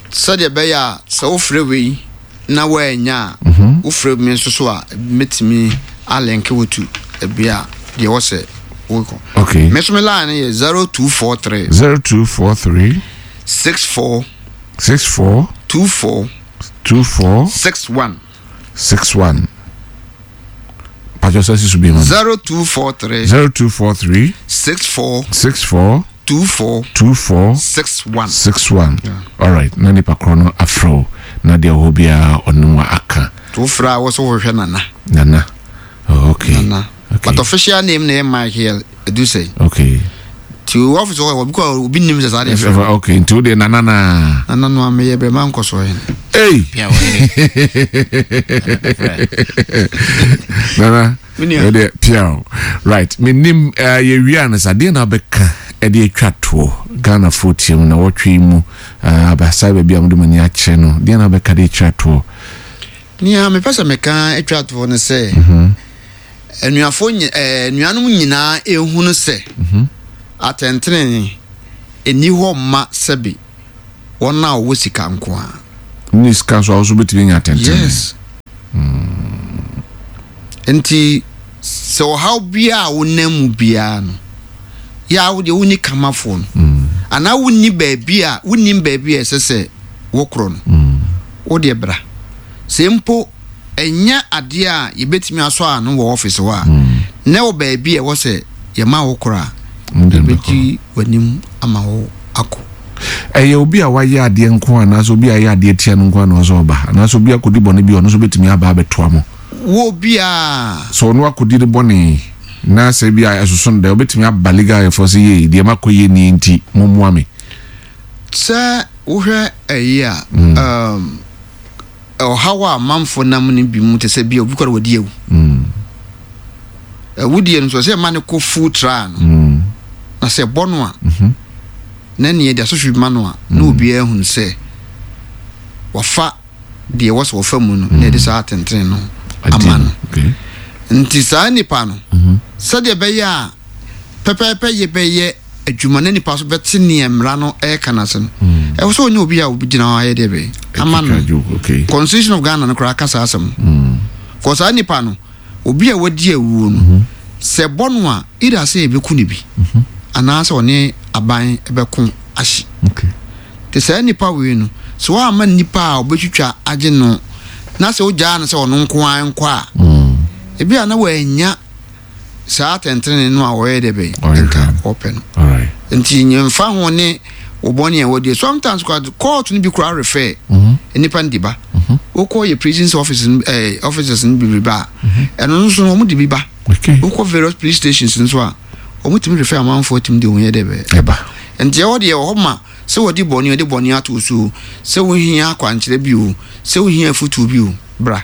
sɛdeɛ ɛbɛyɛ a sɛ wofrɛ wei na woanya a, wofrɛ me nso so a, mɛtumi alink wo to ebi a deɛ wɔ sɛ wokɔ. Okay. Me nso me line no yɛ zero two four three zero two four three six four six four two four two four six one. six one. Pàtó sɛ sisu bi ma. zero two four three zero two four three six four six four two four two four six one. six one. All right. Na nipa korɔ no afrɛ wo na deɛ ɔwɔ biara ɔno wa aka. To wofrɛ a, wɔ sɛ wohwehwɛ Nana. Nana. Oh, okay. Nana. Okay. But official name na yɛ Michael Edusei. Okay. Nti Nti office hɔ obi kɔ obi nim sɛ saa deɛ fɛ. Okay, nti wo deɛ nana na. Nana no ameyɛ brɛ ma nkɔ so hene. Hey. Nana. Ɛdeɛ pia right. Menim uh, yɛwie a no sɛ adeɛ na wobɛka ɛde atwa toɔ Ghanafoɔ tie mu na wɔtwe mu uh, abasa baabi a mode mo ani akyerɛ no, deɛ na wobɛka de atwa toɔ? Nea mepɛ sɛ meka atwa toɔ no sɛ anuafoɔ anuanom nyinaa ehunu sɛ atɛntene ɛni hɔ mma sɛbi wɔn a wɔwɔ sika nko a. Ne sika nso a wɔso bɛtumi anya atɛntene. Yes. Nti sɛ ɔhaw biara a wonam mu biara no, yɛ a wodeɛ wonni kamafoɔ no anaa wonni baabi a wonnim baabi a ɛsɛ sɛ wokorɔ no, wodeɛ bra. Sɛ mpo ɛnyɛ adeɛ a yɛbɛtumi asɔ ano wɔ office hɔ a, na wɔ baabi a ɛwɔ sɛ yɛma wo korɔ a, yɛbɛdi w'anim ama wo akɔ. Ɛyɛ obi a wayɛ adeɛ nko anaasɛ obi a ayɛ adeɛ tia no nko ana ɔsɛ ɔba, anaasɛ obi akɔdi bɔne bi a ɔno nso bɛtumi aba abɛtoa mo? Wɔ obiaa. Sɛ ɔno akɔdi ne bɔne na sɛ bi a ɛsoso no dɛ, wobɛtumi aba legal aidfoɔ sɛ yei deɛ makɔ yɛ nie nti mommoa me. Sɛ wohwɛ ɛyi a, um, ɔhaw a amanfoɔ nam no bi mu te sɛ bi a obi kɔre wɔdi awu. Awudie no nso sɛ ɛma no kɔ full trial no, na sɛ ɛbɔ no a, na neɛ de asotwe ma no a, na obiara hunu sɛ wafa deɛ ɛwɔ sɛ wɔfa mu no, na yɛde saa atentene no ama no. Nti saa nipa no, sɛdeɛ ɛbɛyɛ a pɛpɛɛpɛ yɛ bɛyɛ adwuma na nipa so bɛte neɛ mmara no ɛreka no ase no, ɛwɔ sɛ ɔnyɛ obi a obi gyina hɔ ayɛ deɛ bɛyɛ ama no. Constitution of Ghana no koraa ka saa asɛm no. Kɔ saa nipa no, obi a wadi awuo no, sɛ bɔ no a, either sɛ yɛbɛku no bi anaasɛ ɔne aban bɛko ahye. Te saa nipa wei no, sɛ woamma nipa a ɔbɛtwitwa agye no na sɛ wogyaa no sɛ ɔno nko ara nkɔ a, ebi a na wanya saa atɛntene no a ɔyɛ dɛ bɛn nka ɔpɛ no. Nti nyɛmfa ho ne wɔbɔne a wɔdi. Sometimes court no bi koraa refer nipa no de ba. Wokɔ yɛ prisons office eh, officers no bebree ba a, ɛno nso no wɔn de bi ba. Wokɔ various police stations nso a, wɔn tumi refer amanfoɔ tumi de wɔn yɛ dɛ bɛn ɛba. Nti ɛwɔ deɛ ɛwɔ hɔ ma sɛ wɔde bɔne wɔde bɔne ato so, sɛ wohia akwankyerɛ bi o, sɛ wohia afutuo bi o, bra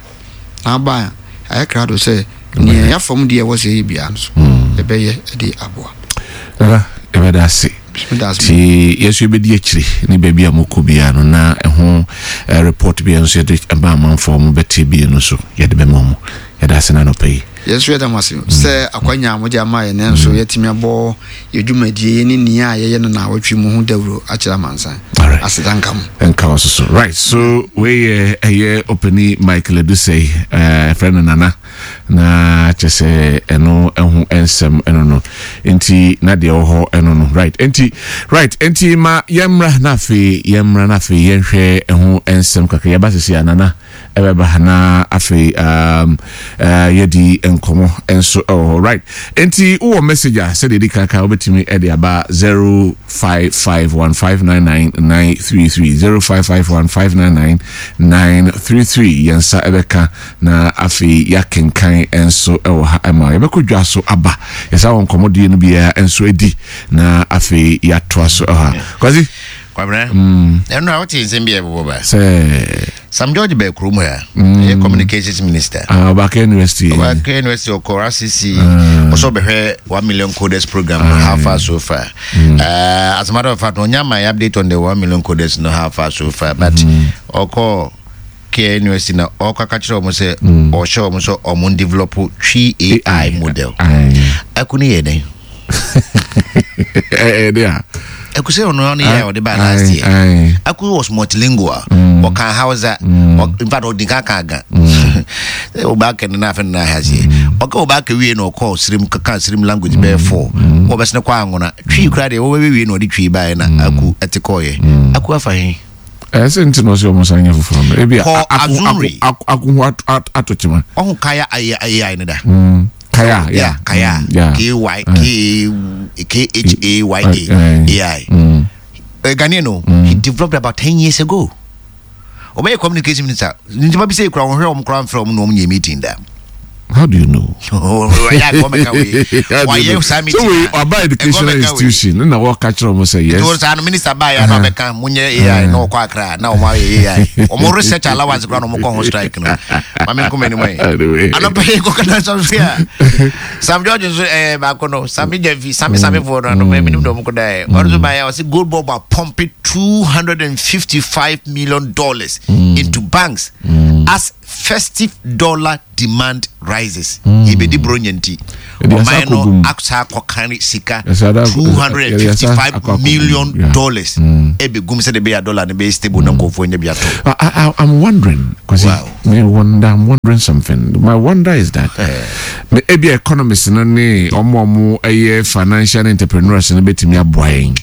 na aba a ayɛ krado sɛ nea yɛafa mu deɛ ɛwɔ sɛ yɛyɛ biara no so yɛbɛyɛ de aboa. Nana, yɛbɛda ase. Nti yɛso yɛbɛdi akyire ne baabi a mokɔ biara no, na ɛho report bi nso yɛde ɛma amanfoɔ mo bɛte bi no so yɛde bɛma mu. Yɛda ase na anɔpa yi. Yɛnso yɛda mo ase sɛ akwanya a mode ama yɛn nso yɛatumi abɔ yɛ dwumadie ne nea a yɛyɛ no na awɔtwe mu ho dawuro akyerɛ amansan. Aseda nka mo. Nka wɔ so so. Right, so wei yɛ ɛyɛ ɔpani Michael Adusei, ɛfrɛ no Nana, na kyɛ sɛ ɛno ɛho nsɛm ɛno no nti na deɛ ɛwɔ hɔ ɛno no. Right, nti right, nti ma yɛmmra na afei yɛmmra na afei yɛnhwɛ ɛho nsɛm kakra. Yɛba sisi a Nana ɛbɛba na afei um, uh, yɛdi nkɔmmɔ nso ɛwɔ hɔ. Right, nti wowɔ message a sɛdeɛ ɛdi kankan wobɛtumi ɛde aba zero five five one five nine nine nine three three, zero five five one five nine nine nine three three. Yɛn nsa ɛbɛka na afei yɛakenkan nso ɛwɔ ha ɛma yɛbɛkɔ dwa so aba. Yɛsa wɔ nkɔmmɔdeɛ no biara nso adi na afei yɛatoa so ɛwɔ ha. Kwasi Kwabena, ɛno a wote nsɛm bi a ɛbobɔ ba sɛ Sam George bɛɛ kurom ha, ɛyɛ communications minister. Ah, Ɔbaaka University. Ɔbaaka University ɔkɔ R C C, ɔsɛ ɔbɛhwɛ one million coders program no, how far so far. uh, as a matter of fact, ɔnya my update on the one million coders no, how far so far, but ɔkɔ K A University na ɔkɔ aka kyerɛ ɔmo sɛ ɔhyɛ ɔmo sɛ ɔmo develop Twi A I model. Ɛko ne yɛ dɛn? Ɛde a Ɛko sɛ ɔno ɔno yɛ a ɔde ba last year. Aku was multilingual. Ɔka Hausa. In fact, ɔdi kan ka Ga. Ɔba kɛ no na afɛ no na ahaseɛ. Ɔka ɔba kɛ wie na ɔkɔ Sirim kaka Sirim language bɛyɛ four. Wɔbɛsene kɔ Anwona. Twi kura deɛ wɔbɛbɛ wie na ɔde Twi baeɛ na Aku ɛte kɔɔyɛ. Aku afa he? Ɛsɛ nti na ɔsɛ ɔmo san nyɛ foforɔ no ebi Kɔ Azumri. Ako ho ato kyema. Ɔho Kaya A I no da. Kaya. Yeah, Kaya. K Y K K H A Y A A I. Uh, Ghanaian no, he developed about ten years ago. Ɔbɛyɛ communication minister. Nti bi sɛ ekura wɔn hwɛ wɔn kura nfrɛ wɔn na wɔn nyɛ meeting da. How do you know? So we about educational institution. Na what catch them say yes. Because our minister buy ya na beka munye A I no kwa akra na omo A I. Omo research allowance kwa no mo ko strike no. Mame nko mani mai. Ano pe ko kana so fia. Sam George so eh ba ko no Sammy Jevi Sammy Sammy for no me minim do mo ko dai. Ozo buy ya say gold bob pumping two hundred fifty-five million dollars into banks as festive dollar demand rises. Yebedi bro nyanti. Oman no aksa kokani sika two hundred fifty-five million dollars. Ebe gum se de be a dollar ne be stable na nkofo nya bi ato. I I'm wondering because wow. Me wonder I'm wondering something. My wonder is that me ebi economists no ne omo omo eye financial entrepreneurs no betimi aboa.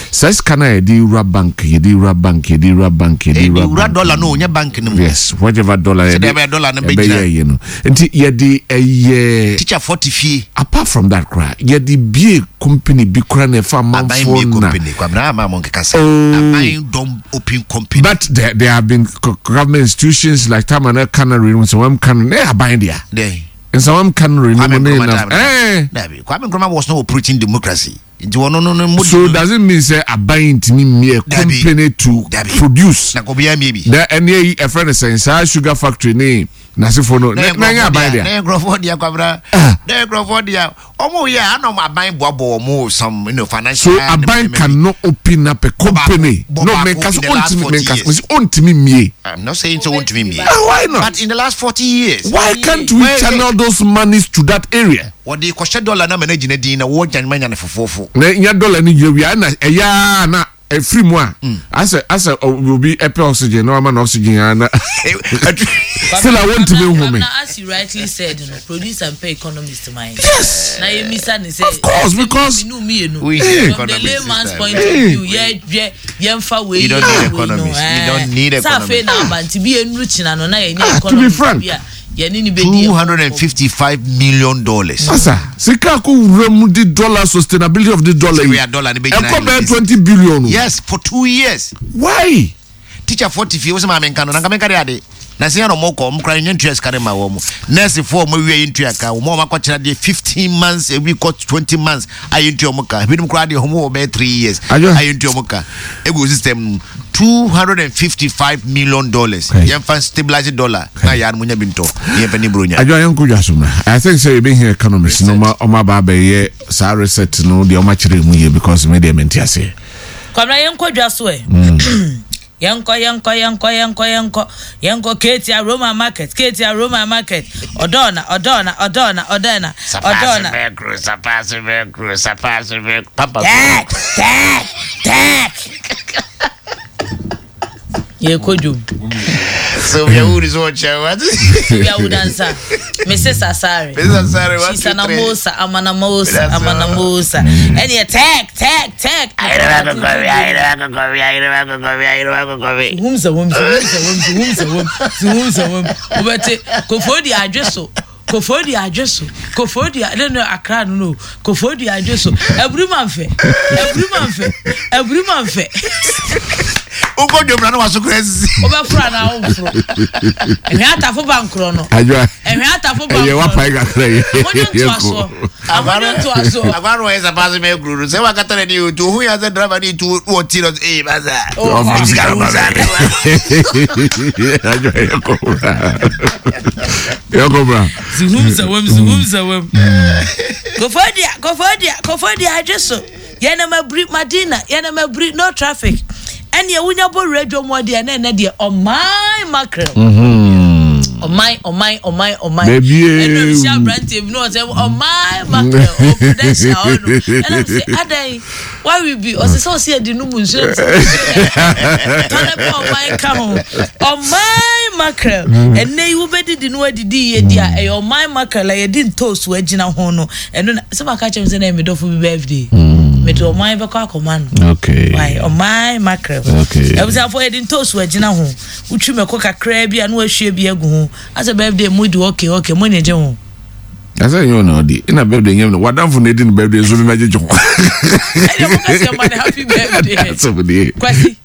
Says kana ye di wura bank, ye di wura bank, ye di wura bank, ye di wura dollar no nya bank no. Yes, whatever dollar ye. Di dollar no be you know. Nti ye di eh teacher forty fee. Apart from that cry, ye di bie company bi kra na fa manfo na. Company kwa na ma mon kasa. Aban don open company. But there there have been government institutions like Tamana Canary so am can eh aban dia. There. And so am canary no na. Eh. Kwame Nkrumah was not operating democracy. No, no, no, so does it mean say a buying to me a company to produce? Na ko bia maybe. Na any a friend is saying sugar factory ni na se for no. Na nya buy there. Na ngrofo dia kwabra. Na ngrofo dia. Omo ye ana mo aban boabo omo some you know financial. So a bank cannot open up a company. No me kas ontimi me kas ontimi me. I'm not saying so ontimi me. Why not? But in the last forty years. Why can't we channel those monies to that area? What the question dollar na manage na din na wo gyan manya na fofofo. Na nya dollar ni gye wi na eya na free mo a. Asa asa will be epe oxygen no man oxygen na. Still I want to be home. As you rightly said, you know, produce and pay economist mind. Yes. Na you miss and say of course because we from the layman's point of view, yeah yeah yeah fa we. You don't need economists. You don't need economists. Sa fe na abanti bi enu china no na ye economist. To be frank. two hundred fifty-five million dollars. Asa, sika ko wura di dollar sustainability of the dollar. We are dollar ni be twenty billion. Yes, for two years. Why? Teacher forty fi wo se ma me nka no na nka me nka de ade. Na se ya no mo ko mo kra ntua sika ma wo mo. Nurse four mo wie ntua ka wo mo ma kwachira de fifteen months a week twenty months ayi ntua mo ka. Bi dum kra de ho mo be three years. Ayi ntua mo ka. Ego system two hundred fifty-five million dollars. Yemfa stabilize dollar. Na ya no nya binto. Yemfa ni bro nya. Adwo yanko dwasomra. I think say you been here economists no ma o ma ba ba ye sa reset no de o ma kire mu ye because me de menti ase. Kwamra yenko dwaso e. Yanko yanko yanko yanko yanko yanko Katie Aroma Market, Katie Aroma Market. Odona odona odona odona odona. Papa. Tak tak tak. Ye kojo. So we are is watching what? We are dancer. Missus Asare. Missus Asare what? She's an amosa, amanamosa, amanamosa. And you tag tag tag. Whom's a whom's a whom's a whom's a whom's a whom. Ubete kofodi adreso. Kofodi adreso. Kofodi I don't know Accra no. Kofodi adreso. Every man fe. Every man fe. Every man fe. Ugo jomra no waso crazy. Obafra na ofro. Ehwe atafo bankro no. Adwa. Ehwe atafo bankro. Eye wa pai kakra ye. Agwaro to aso. Agwaro e sapase me gruru. Se wakata ne ni to hu ya se driver ni to wo ti no eh baza. Adwa yeko bra. Yeko bra. Zuhum zawem zuhum zawem. Kofodia kofodia kofodia adreso. Ye na mabri Madina, ye na mabri no traffic. And you wunya bo radio mo de na na de on my mackerel. Mhm. On my on my on my on my. Baby. And no shall brand team no say on my mackerel o prudential no. And I'm say adan why we be o say so see de no mu nsu. Kana pa on my ka ho. On my mackerel. And na you be di no adidi ye di a on my mackerel ye di ntosu agina ho no. And no say ma ka chem say na me dofo bi birthday. Me to my be kwa koma no. Okay. Why on my mackerel. Okay. E busa for edin toast we gina ho. Utwi me ko kakra bia na wahwe bia gu ho. As a birthday mu di okay okay mo ne je ho. Asa you know di. Ina birthday nyam no. Wadamfo na edin birthday so me majeje ho. E mo ka se man happy birthday. That's over there. Kwasi.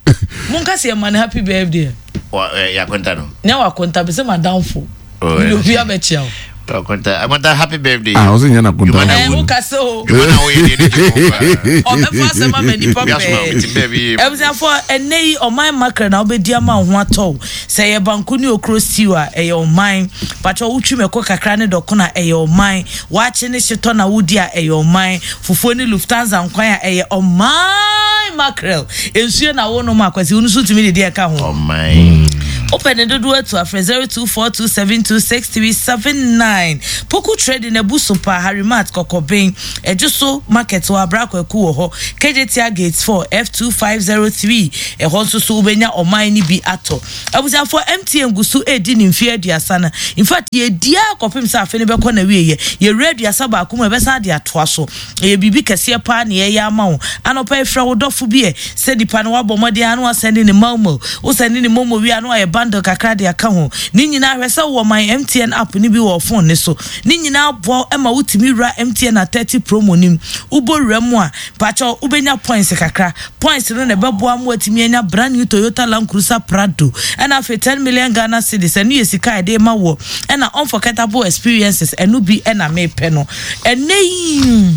Mo ka se man happy birthday. Wa ya kwenta no. Na wa kwenta be se madamfo. Oh. Mi obi abechi o. Akonta, Akonta, happy birthday. Ah, ɔsɛ nyɛ na Akonta. Ɛɛ wo kasa o. Juma na wo yɛ deɛ ne Ɔbɛfa asɛm ama nipa pɛɛ. Abusuafo, ɛnɛ yi ɔman makra na wobɛdi ama wo ho atɔ wo. Sɛ ɛyɛ banku ne okro stew a, ɛyɛ ɔman. Patrɔ wotwi mɛko kakra ne dɔkono a, ɛyɛ ɔman. Waakye ne hyetɔ na wodi a, ɛyɛ ɔman. Fufuo ne Lufthansa nkwan a, ɛyɛ ɔman mackerel. Nsuo na wonom a, Kwasi, wo nso wotumi de deɛ ɛka ho. Ɔman. Wopɛ ne dodoɔ atu a, frɛ zero two four two seven two six three seven nine. Poku Trading, Abu so paa, Harry Mart, Kɔkɔben, Ɛdwo so Market wɔ Abra Kwaku wɔ hɔ, Kejetia Gate four, F two five zero three, ɛhɔ nso so wobɛnya ɔman no bi atɔ. Abusuafoɔ, M T N gu so redi ne mfeɛ aduasa no. In fact, yɛredi ara kɔpem sɛ afe no bɛkɔ n'awieɛ. Yɛwura aduasa baako mu a, yɛbɛsan de atoa so. Ɛyɛ biribi kɛseɛ paa na yɛreyɛ ama wo. Anɔpa yi, frɛ wo dɔfo bi ɛ, sɛ nipa no wabɔ mmɔden ara na wasɛnde ne Malmo. Wosɛnde ne Momo wie a, na wayɛ bundle kakra de aka ho. Ne nyinaa, hwɛ sɛ wowɔ My M T N app no bi wɔ wo phone no so. Ne nyinaa boa wo ma wotumi wura M T N at thirty promo no mu. Wobɔ wura mu a, mpakyɛw, wobɛnya points kakra. Points no na ɛbɛboa ma woatumi anya brand new Toyota Land Cruiser Prado. Ɛna afei ten million Ghana cedis, ɛno yɛ sika a yɛde rema woɔ. Ɛna unforgettable experiences, ɛno bi na mepɛ no. Ɛnnɛ yi,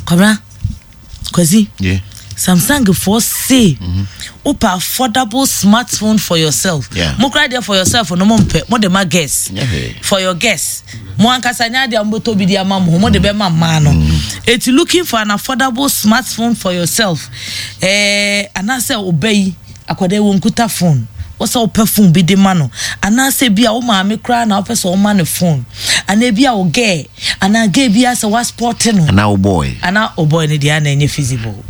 Kwabena, Kwasi, yeah. Samsung foɔ se mm-hmm. wopɛ affordable smartphone for yourself. Yeah. Mo kora deɛ for yourself no mo mpɛ, mo de ma guest. Yeah. For your guest. Mo ankasa nya deɛ mo bɛtɔ bi de ama mo ho, mo de bɛma mmaa no. Mm. Eti looking for an affordable smartphone for yourself. Eh, anaasɛ ɔbɛ yi, akwadaa yi wɔnkuta phone. Wɔsɛ wopɛ phone bi de ma no. Anaasɛ bi a wo maame koraa na wopɛ sɛ ɔma no phone. Anaa bi a wo girl, anaa girl bi asɛ waspɔte no. Anaa wo boy. Anaa wo boy no deɛ ana ɛnyɛ feasible.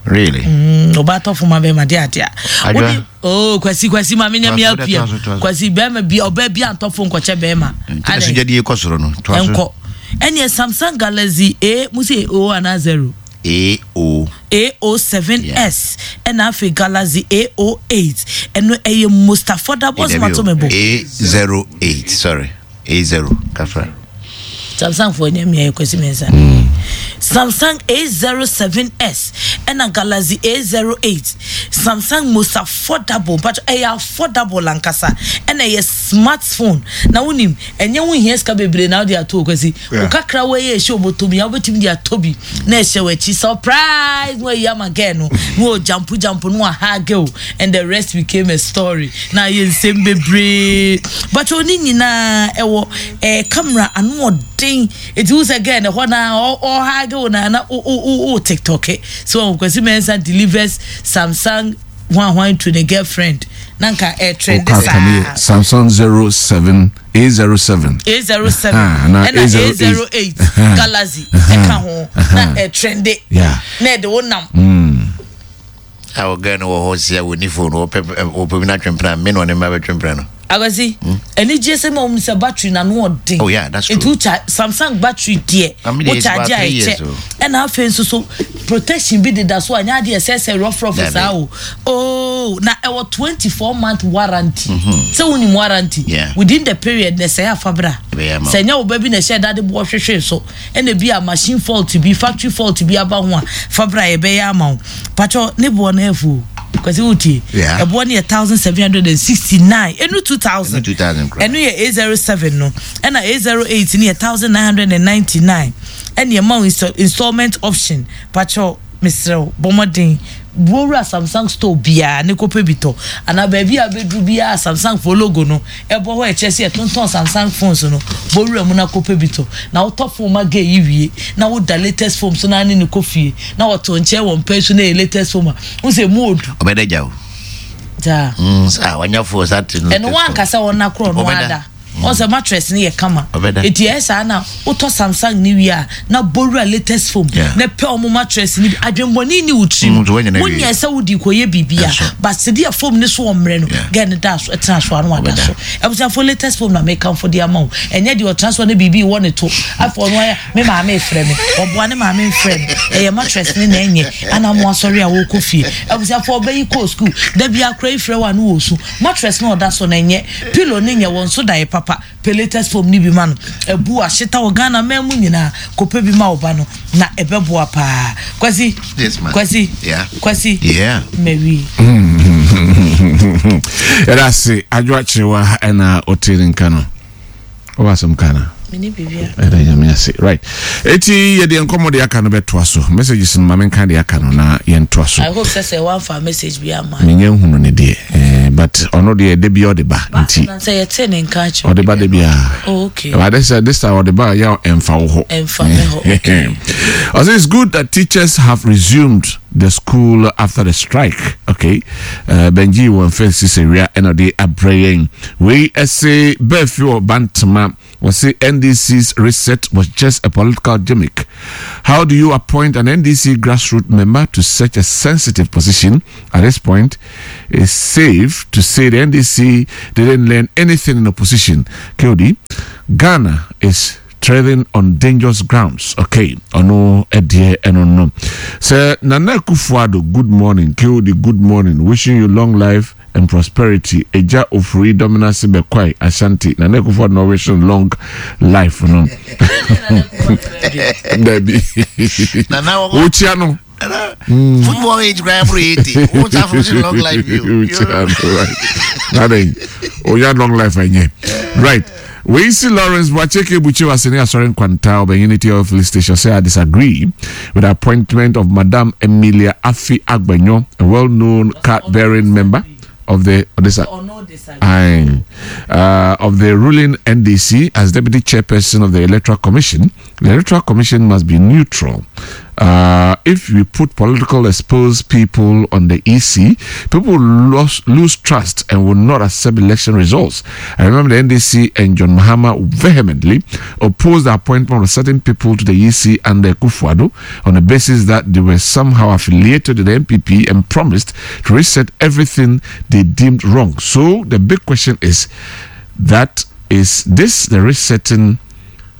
Really? Mm, ɔba atɔ phone ma bɛrima deɛ adeɛ a. Adwa. Wode, oh, Kwasi, Kwasi, ma menyɛ me Toa so, L P M. toa so, toa so. Kwasi, bɛrima bi, ɔbaa bi antɔ phone kɔkyɛ bɛrima. Nti na sogya kɔ soro no. Toa so. Ɛnkɔ. Ɛneɛ Samsung Galaxy A, mo se O anaa zero? A O. A O seven S ɛna afei Galaxy A O eight ɛno ɛyɛ most affordable smartphone mebo. A zero eight, sorry, A zero kafra. Samsung for ɛnyɛ mmea Kwasi Mensah. Samsung A zero seven S ɛna Galaxy A zero eight. Samsung most affordable, but ɛyɛ affordable ankasa ɛna ɛyɛ smartphone. Na wonim ɛnyɛ wo hia sika bebree na wode ato Kwasi. Yeah. Okakra wo ɛyɛ ɛhyɛ obotom ya wobɛtumi de ato bi na ɛhyɛ w'akyi surprise no ayi ama girl no na o jampo jampo no aha girl and the rest became a story. Na ayɛ nsɛm bebree but oni nyinaa ɛwɔ eh, camera ano ɔden eti wo sɛ girl no hɔ na ɔha girl na na o o o TikTok so Kwasi Mensah delivers Samsung one one to the girlfriend na nka eh, trend saa Samsung zero seven A zero seven A zero seven Ah, ɛna A zero eight Galaxy ɛka ho na eh, trende Yeah. na ɛde wo nam. A ɔgɛ no wɔ hɔ si a wɔni phone wɔpɛ wɔpɛ bi na twempena me na ɔne mma bɛtwempena no. Akwasi, ɛni gye sɛ ma wɔn sɛ battery na no ɔden. Oh yeah, that's true. Etu cha Samsung battery deɛ, I mean, wo it's charge about a three years, ɛkyɛ. oh. Ɛna afei nso so protection bi deda so a nya adeɛ ɛsɛ sɛ rough rough Dabi. saa o. Oh, na ɛwɔ twenty-four month warranty. Sɛ wonim warranty. Yeah. Within the period na ɛsɛ afa bra. Ɛbɛyɛ ama wo. Sɛ nyɛ wo ba bi na ɛhyɛ dade boɔ hwehwɛ so. Ɛna bi a machine fault bi, factory fault bi aba ho a fa bra yɛbɛyɛ ama wo. Pacho ne boɔ no ɛfo. Kwasi wotie. Yeah. Ɛboɔ no yɛ thousand seven hundred and sixty-nine. Ɛnu two thousand. Ɛnu two thousand koraa. Ɛnu yɛ A zero seven no. Ɛna A zero eight no yɛ thousand nine hundred and ninety-nine. Ɛna ɛma wo install-, installment option. Pacho mesrɛ wo, bɔ mmɔden. Buowura Samsung store biara ne kɔpɛ bi tɔ. Anaa baabi a bɛduru biara Samsung fo logo no ɛbɔ hɔ ɛkyerɛ sɛ yɛtontɔn Samsung phones no. Buowura mu na kɔpɛ bi tɔ. Na wotɔ phone ma girl yi wie na woda latest phone so na ne ne kɔ fie na wɔto nkyɛn wɔ mpɛn so na ɛyɛ latest phone a wo sɛ mu odu. Ɔbɛda gya o. Gya. Mm, saa wanya phone saa te no. Ɛno wankasa wɔn na korɔ no Ɔbɛda. ada. Ɔsɛ mattress ne yɛ kama. Ɔbɛda. Eti ɛyɛ saa na wotɔ Samsung ne wie a na bowura latest phone Yeah. na pɛ ɔmo mattress ne bi. Adwemmɔne ni wo tirim. Mm, so wɔnyɛ na wie. Wonyɛ sɛ wodi kɔyɛ biribi a, Ɛso. but sɛdeɛ phone ne so wɔ mmerɛ no, Yeah. girl ne da so, ɛtena so ano ada Ɔbɛda. so. Abusuafo latest phone na mekamfo de ama wo. Ɛnyɛ deɛ ɔtena so ne biribi wɔ ne to. Afei ɔno ayɛ me maame frɛ me. Ɔboa ne maame mfrɛ no. Ɛyɛ mattress ne na ɛnyɛ. Ana mo asɔre a wɔkɔ fie. Abusuafo ɔbɛyi kɔ school. Da bi akora yi frɛ wo a no wɔ su. Mattress na ɔda so na ɛnyɛ. Pillow ne nyɛ wɔn so da yɛ papa. Pɛ latest phone ni bi ma no. Ebu ahyeta wɔ Ghana man mu nyinaa. Kɔpɛ bi ma wo ba no na ɛbɛboa paa. Kwasi. Yes, ma'am. Kwasi. Yeah. Kwasi. Yeah. Mary. Ɛda ase adwo akyerewa ɛna ɔte ne nka no. Ɔba asɛm ka na. Mene biribia. Ɛda Nyame ase. Right, eti yɛde nkɔmmɔ de aka no bɛtoa so. Messages no, ma menka de aka no na yɛntoa so. I hope sɛ sɛ woamfa message bi ama. Menyɛ nhunu ne deɛ, eh, but ɔno deɛ, da bia ɔde ba nti. Sɛ yɛte ne nka kyerɛ. Ɔde ba da biaa. Oh, okay. But this, uh, this time ɔde ba yɛ ɛmfa wo hɔ. Ɛmfa me hɔ, okay. I say it's good that teachers have resumed the school after the strike. Okay. Uh, Benji wɔ mfɛn sisi wia ɛna ɔde abrɛ yɛn. Wei ɛsɛ bɛɛfi wɔ Bantama. Wɔsi N D C's reset was just a political gimmick. How do you appoint an N D C grassroots member to such a sensitive position? At this point, it's safe to say the N D C didn't learn anything in opposition. K O D, Ghana is treading on dangerous grounds. Okay, ɔno ɛdeɛ ɛno no. Sɛ Nana Akufo-Addo, good morning. K O D, good morning. Wishing you long life and prosperity. Eja Ofuri Dominance Bekwai Ashanti. Nana Akufo-Addo no wishing long life no. Dabi. Nana wɔ- Wokyia no. Football age kura ɛboro eighty wo sa fo si long life yi o. Wokyia no, right. Nade, oya long life ɛnyɛ. Right. We see Lawrence Bwacheke Buchi Waseni Asori Nkwanta of the Unity Oil Filling Station say, "I disagree with the appointment of Madame Emilia Afi Agbenyo, a well-known card-bearing member of the of this Ɔno disagree. Aye. Uh, of the ruling N D C as deputy chairperson of the Electoral Commission. The Electoral Commission must be neutral. Uh, if we put political exposed people on the E C, people will lose, lose trust and will not accept election results. I remember the N D C and John Mahama vehemently opposed the appointment of certain people to the E C under Akufo-Addo on the basis that they were somehow affiliated to the N P P and promised to reset everything they deemed wrong. So the big question is that, is this the resetting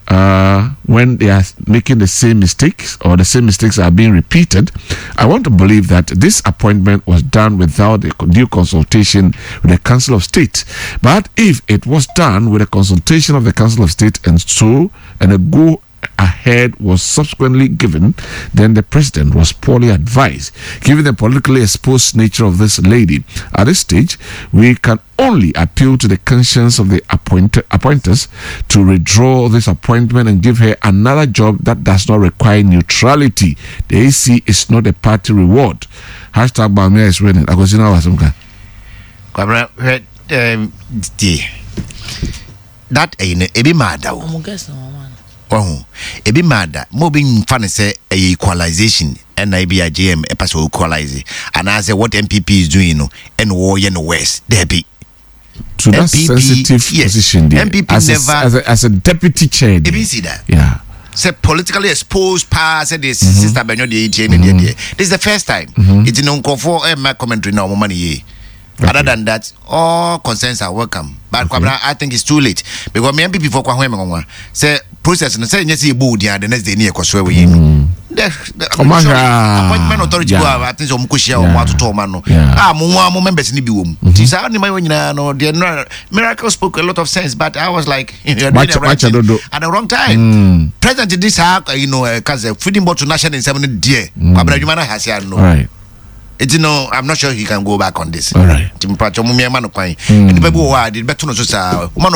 uh, when they are making the same mistakes or the same mistakes are being repeated? I want to believe that this appointment was done without a due consultation with the Council of State. But if it was done with a consultation of the Council of State and so and a go ahead was subsequently given, then the president was poorly advised, given the politically exposed nature of this lady. At this stage, we can only appeal to the conscience of the appoint- appointers to withdraw this appointment and give her another job that does not require neutrality. The E C is not a party reward. Hashtag Bawumia is winning. Akosina Wasumka. Kwabena, hwɛ, ɛɛm, tie that ɛyi no ebi maa da o. Ɔmo guest na wɔn no. Ɔho ebi maa da mo, obi nfa ne sɛ ɛyɛ equalization, ɛna ebi a J M ɛpɛ sɛ equalize anaasɛ what N P P is doing no ɛna wɔyɛ no worse, dɛbi. To that N P P, sensitive yes. position there. N P P as, never- a, as, a, as a deputy chair there. Ebi nsi da Yeah. sɛ politically exposed paa sɛ de sister bɛnyɔ deɛ etie ne deɛ deɛ this is the first time. Eti no nkurɔfoɔ ɛmma commentary na ɔmo ma ne yie. Other than that, all concerns are welcome, but Kwabena, I think it's too late because me N P P fo kɔ ahoɛ me nwanwa sɛ process no sɛ nyɛ sɛ yɛbɔ odi a the next day ne yɛkɔ so ɛwɔ yɛ mi. The the Ɔmo ahwɛ a- appointment authority yeah. go a, I think sɛ ɔmo kɔ hyia ɔmo Yeah. atoto ɔmo ano Yeah. a mo nwa mo members ni bi wɔ mu nti saa nneɛma yi nyinaa no deɛ nora Miracle spoke a lot of sense, but I was like, you're doing the Wakyɛ- right wakyɛ thing dodo. at the wrong time. President di saa you know uh, ka sɛ feeding bottle n'ahyɛ ne nsɛm no deɛ, Kwabena, adwuma no ahase ano. All right. Eti no, I'm not sure he can go back on this. All right. Nti mpatwɛ mo mmiɛnma no kwan, nipa bi wɔ hɔ a de bɛto no so saa woma no.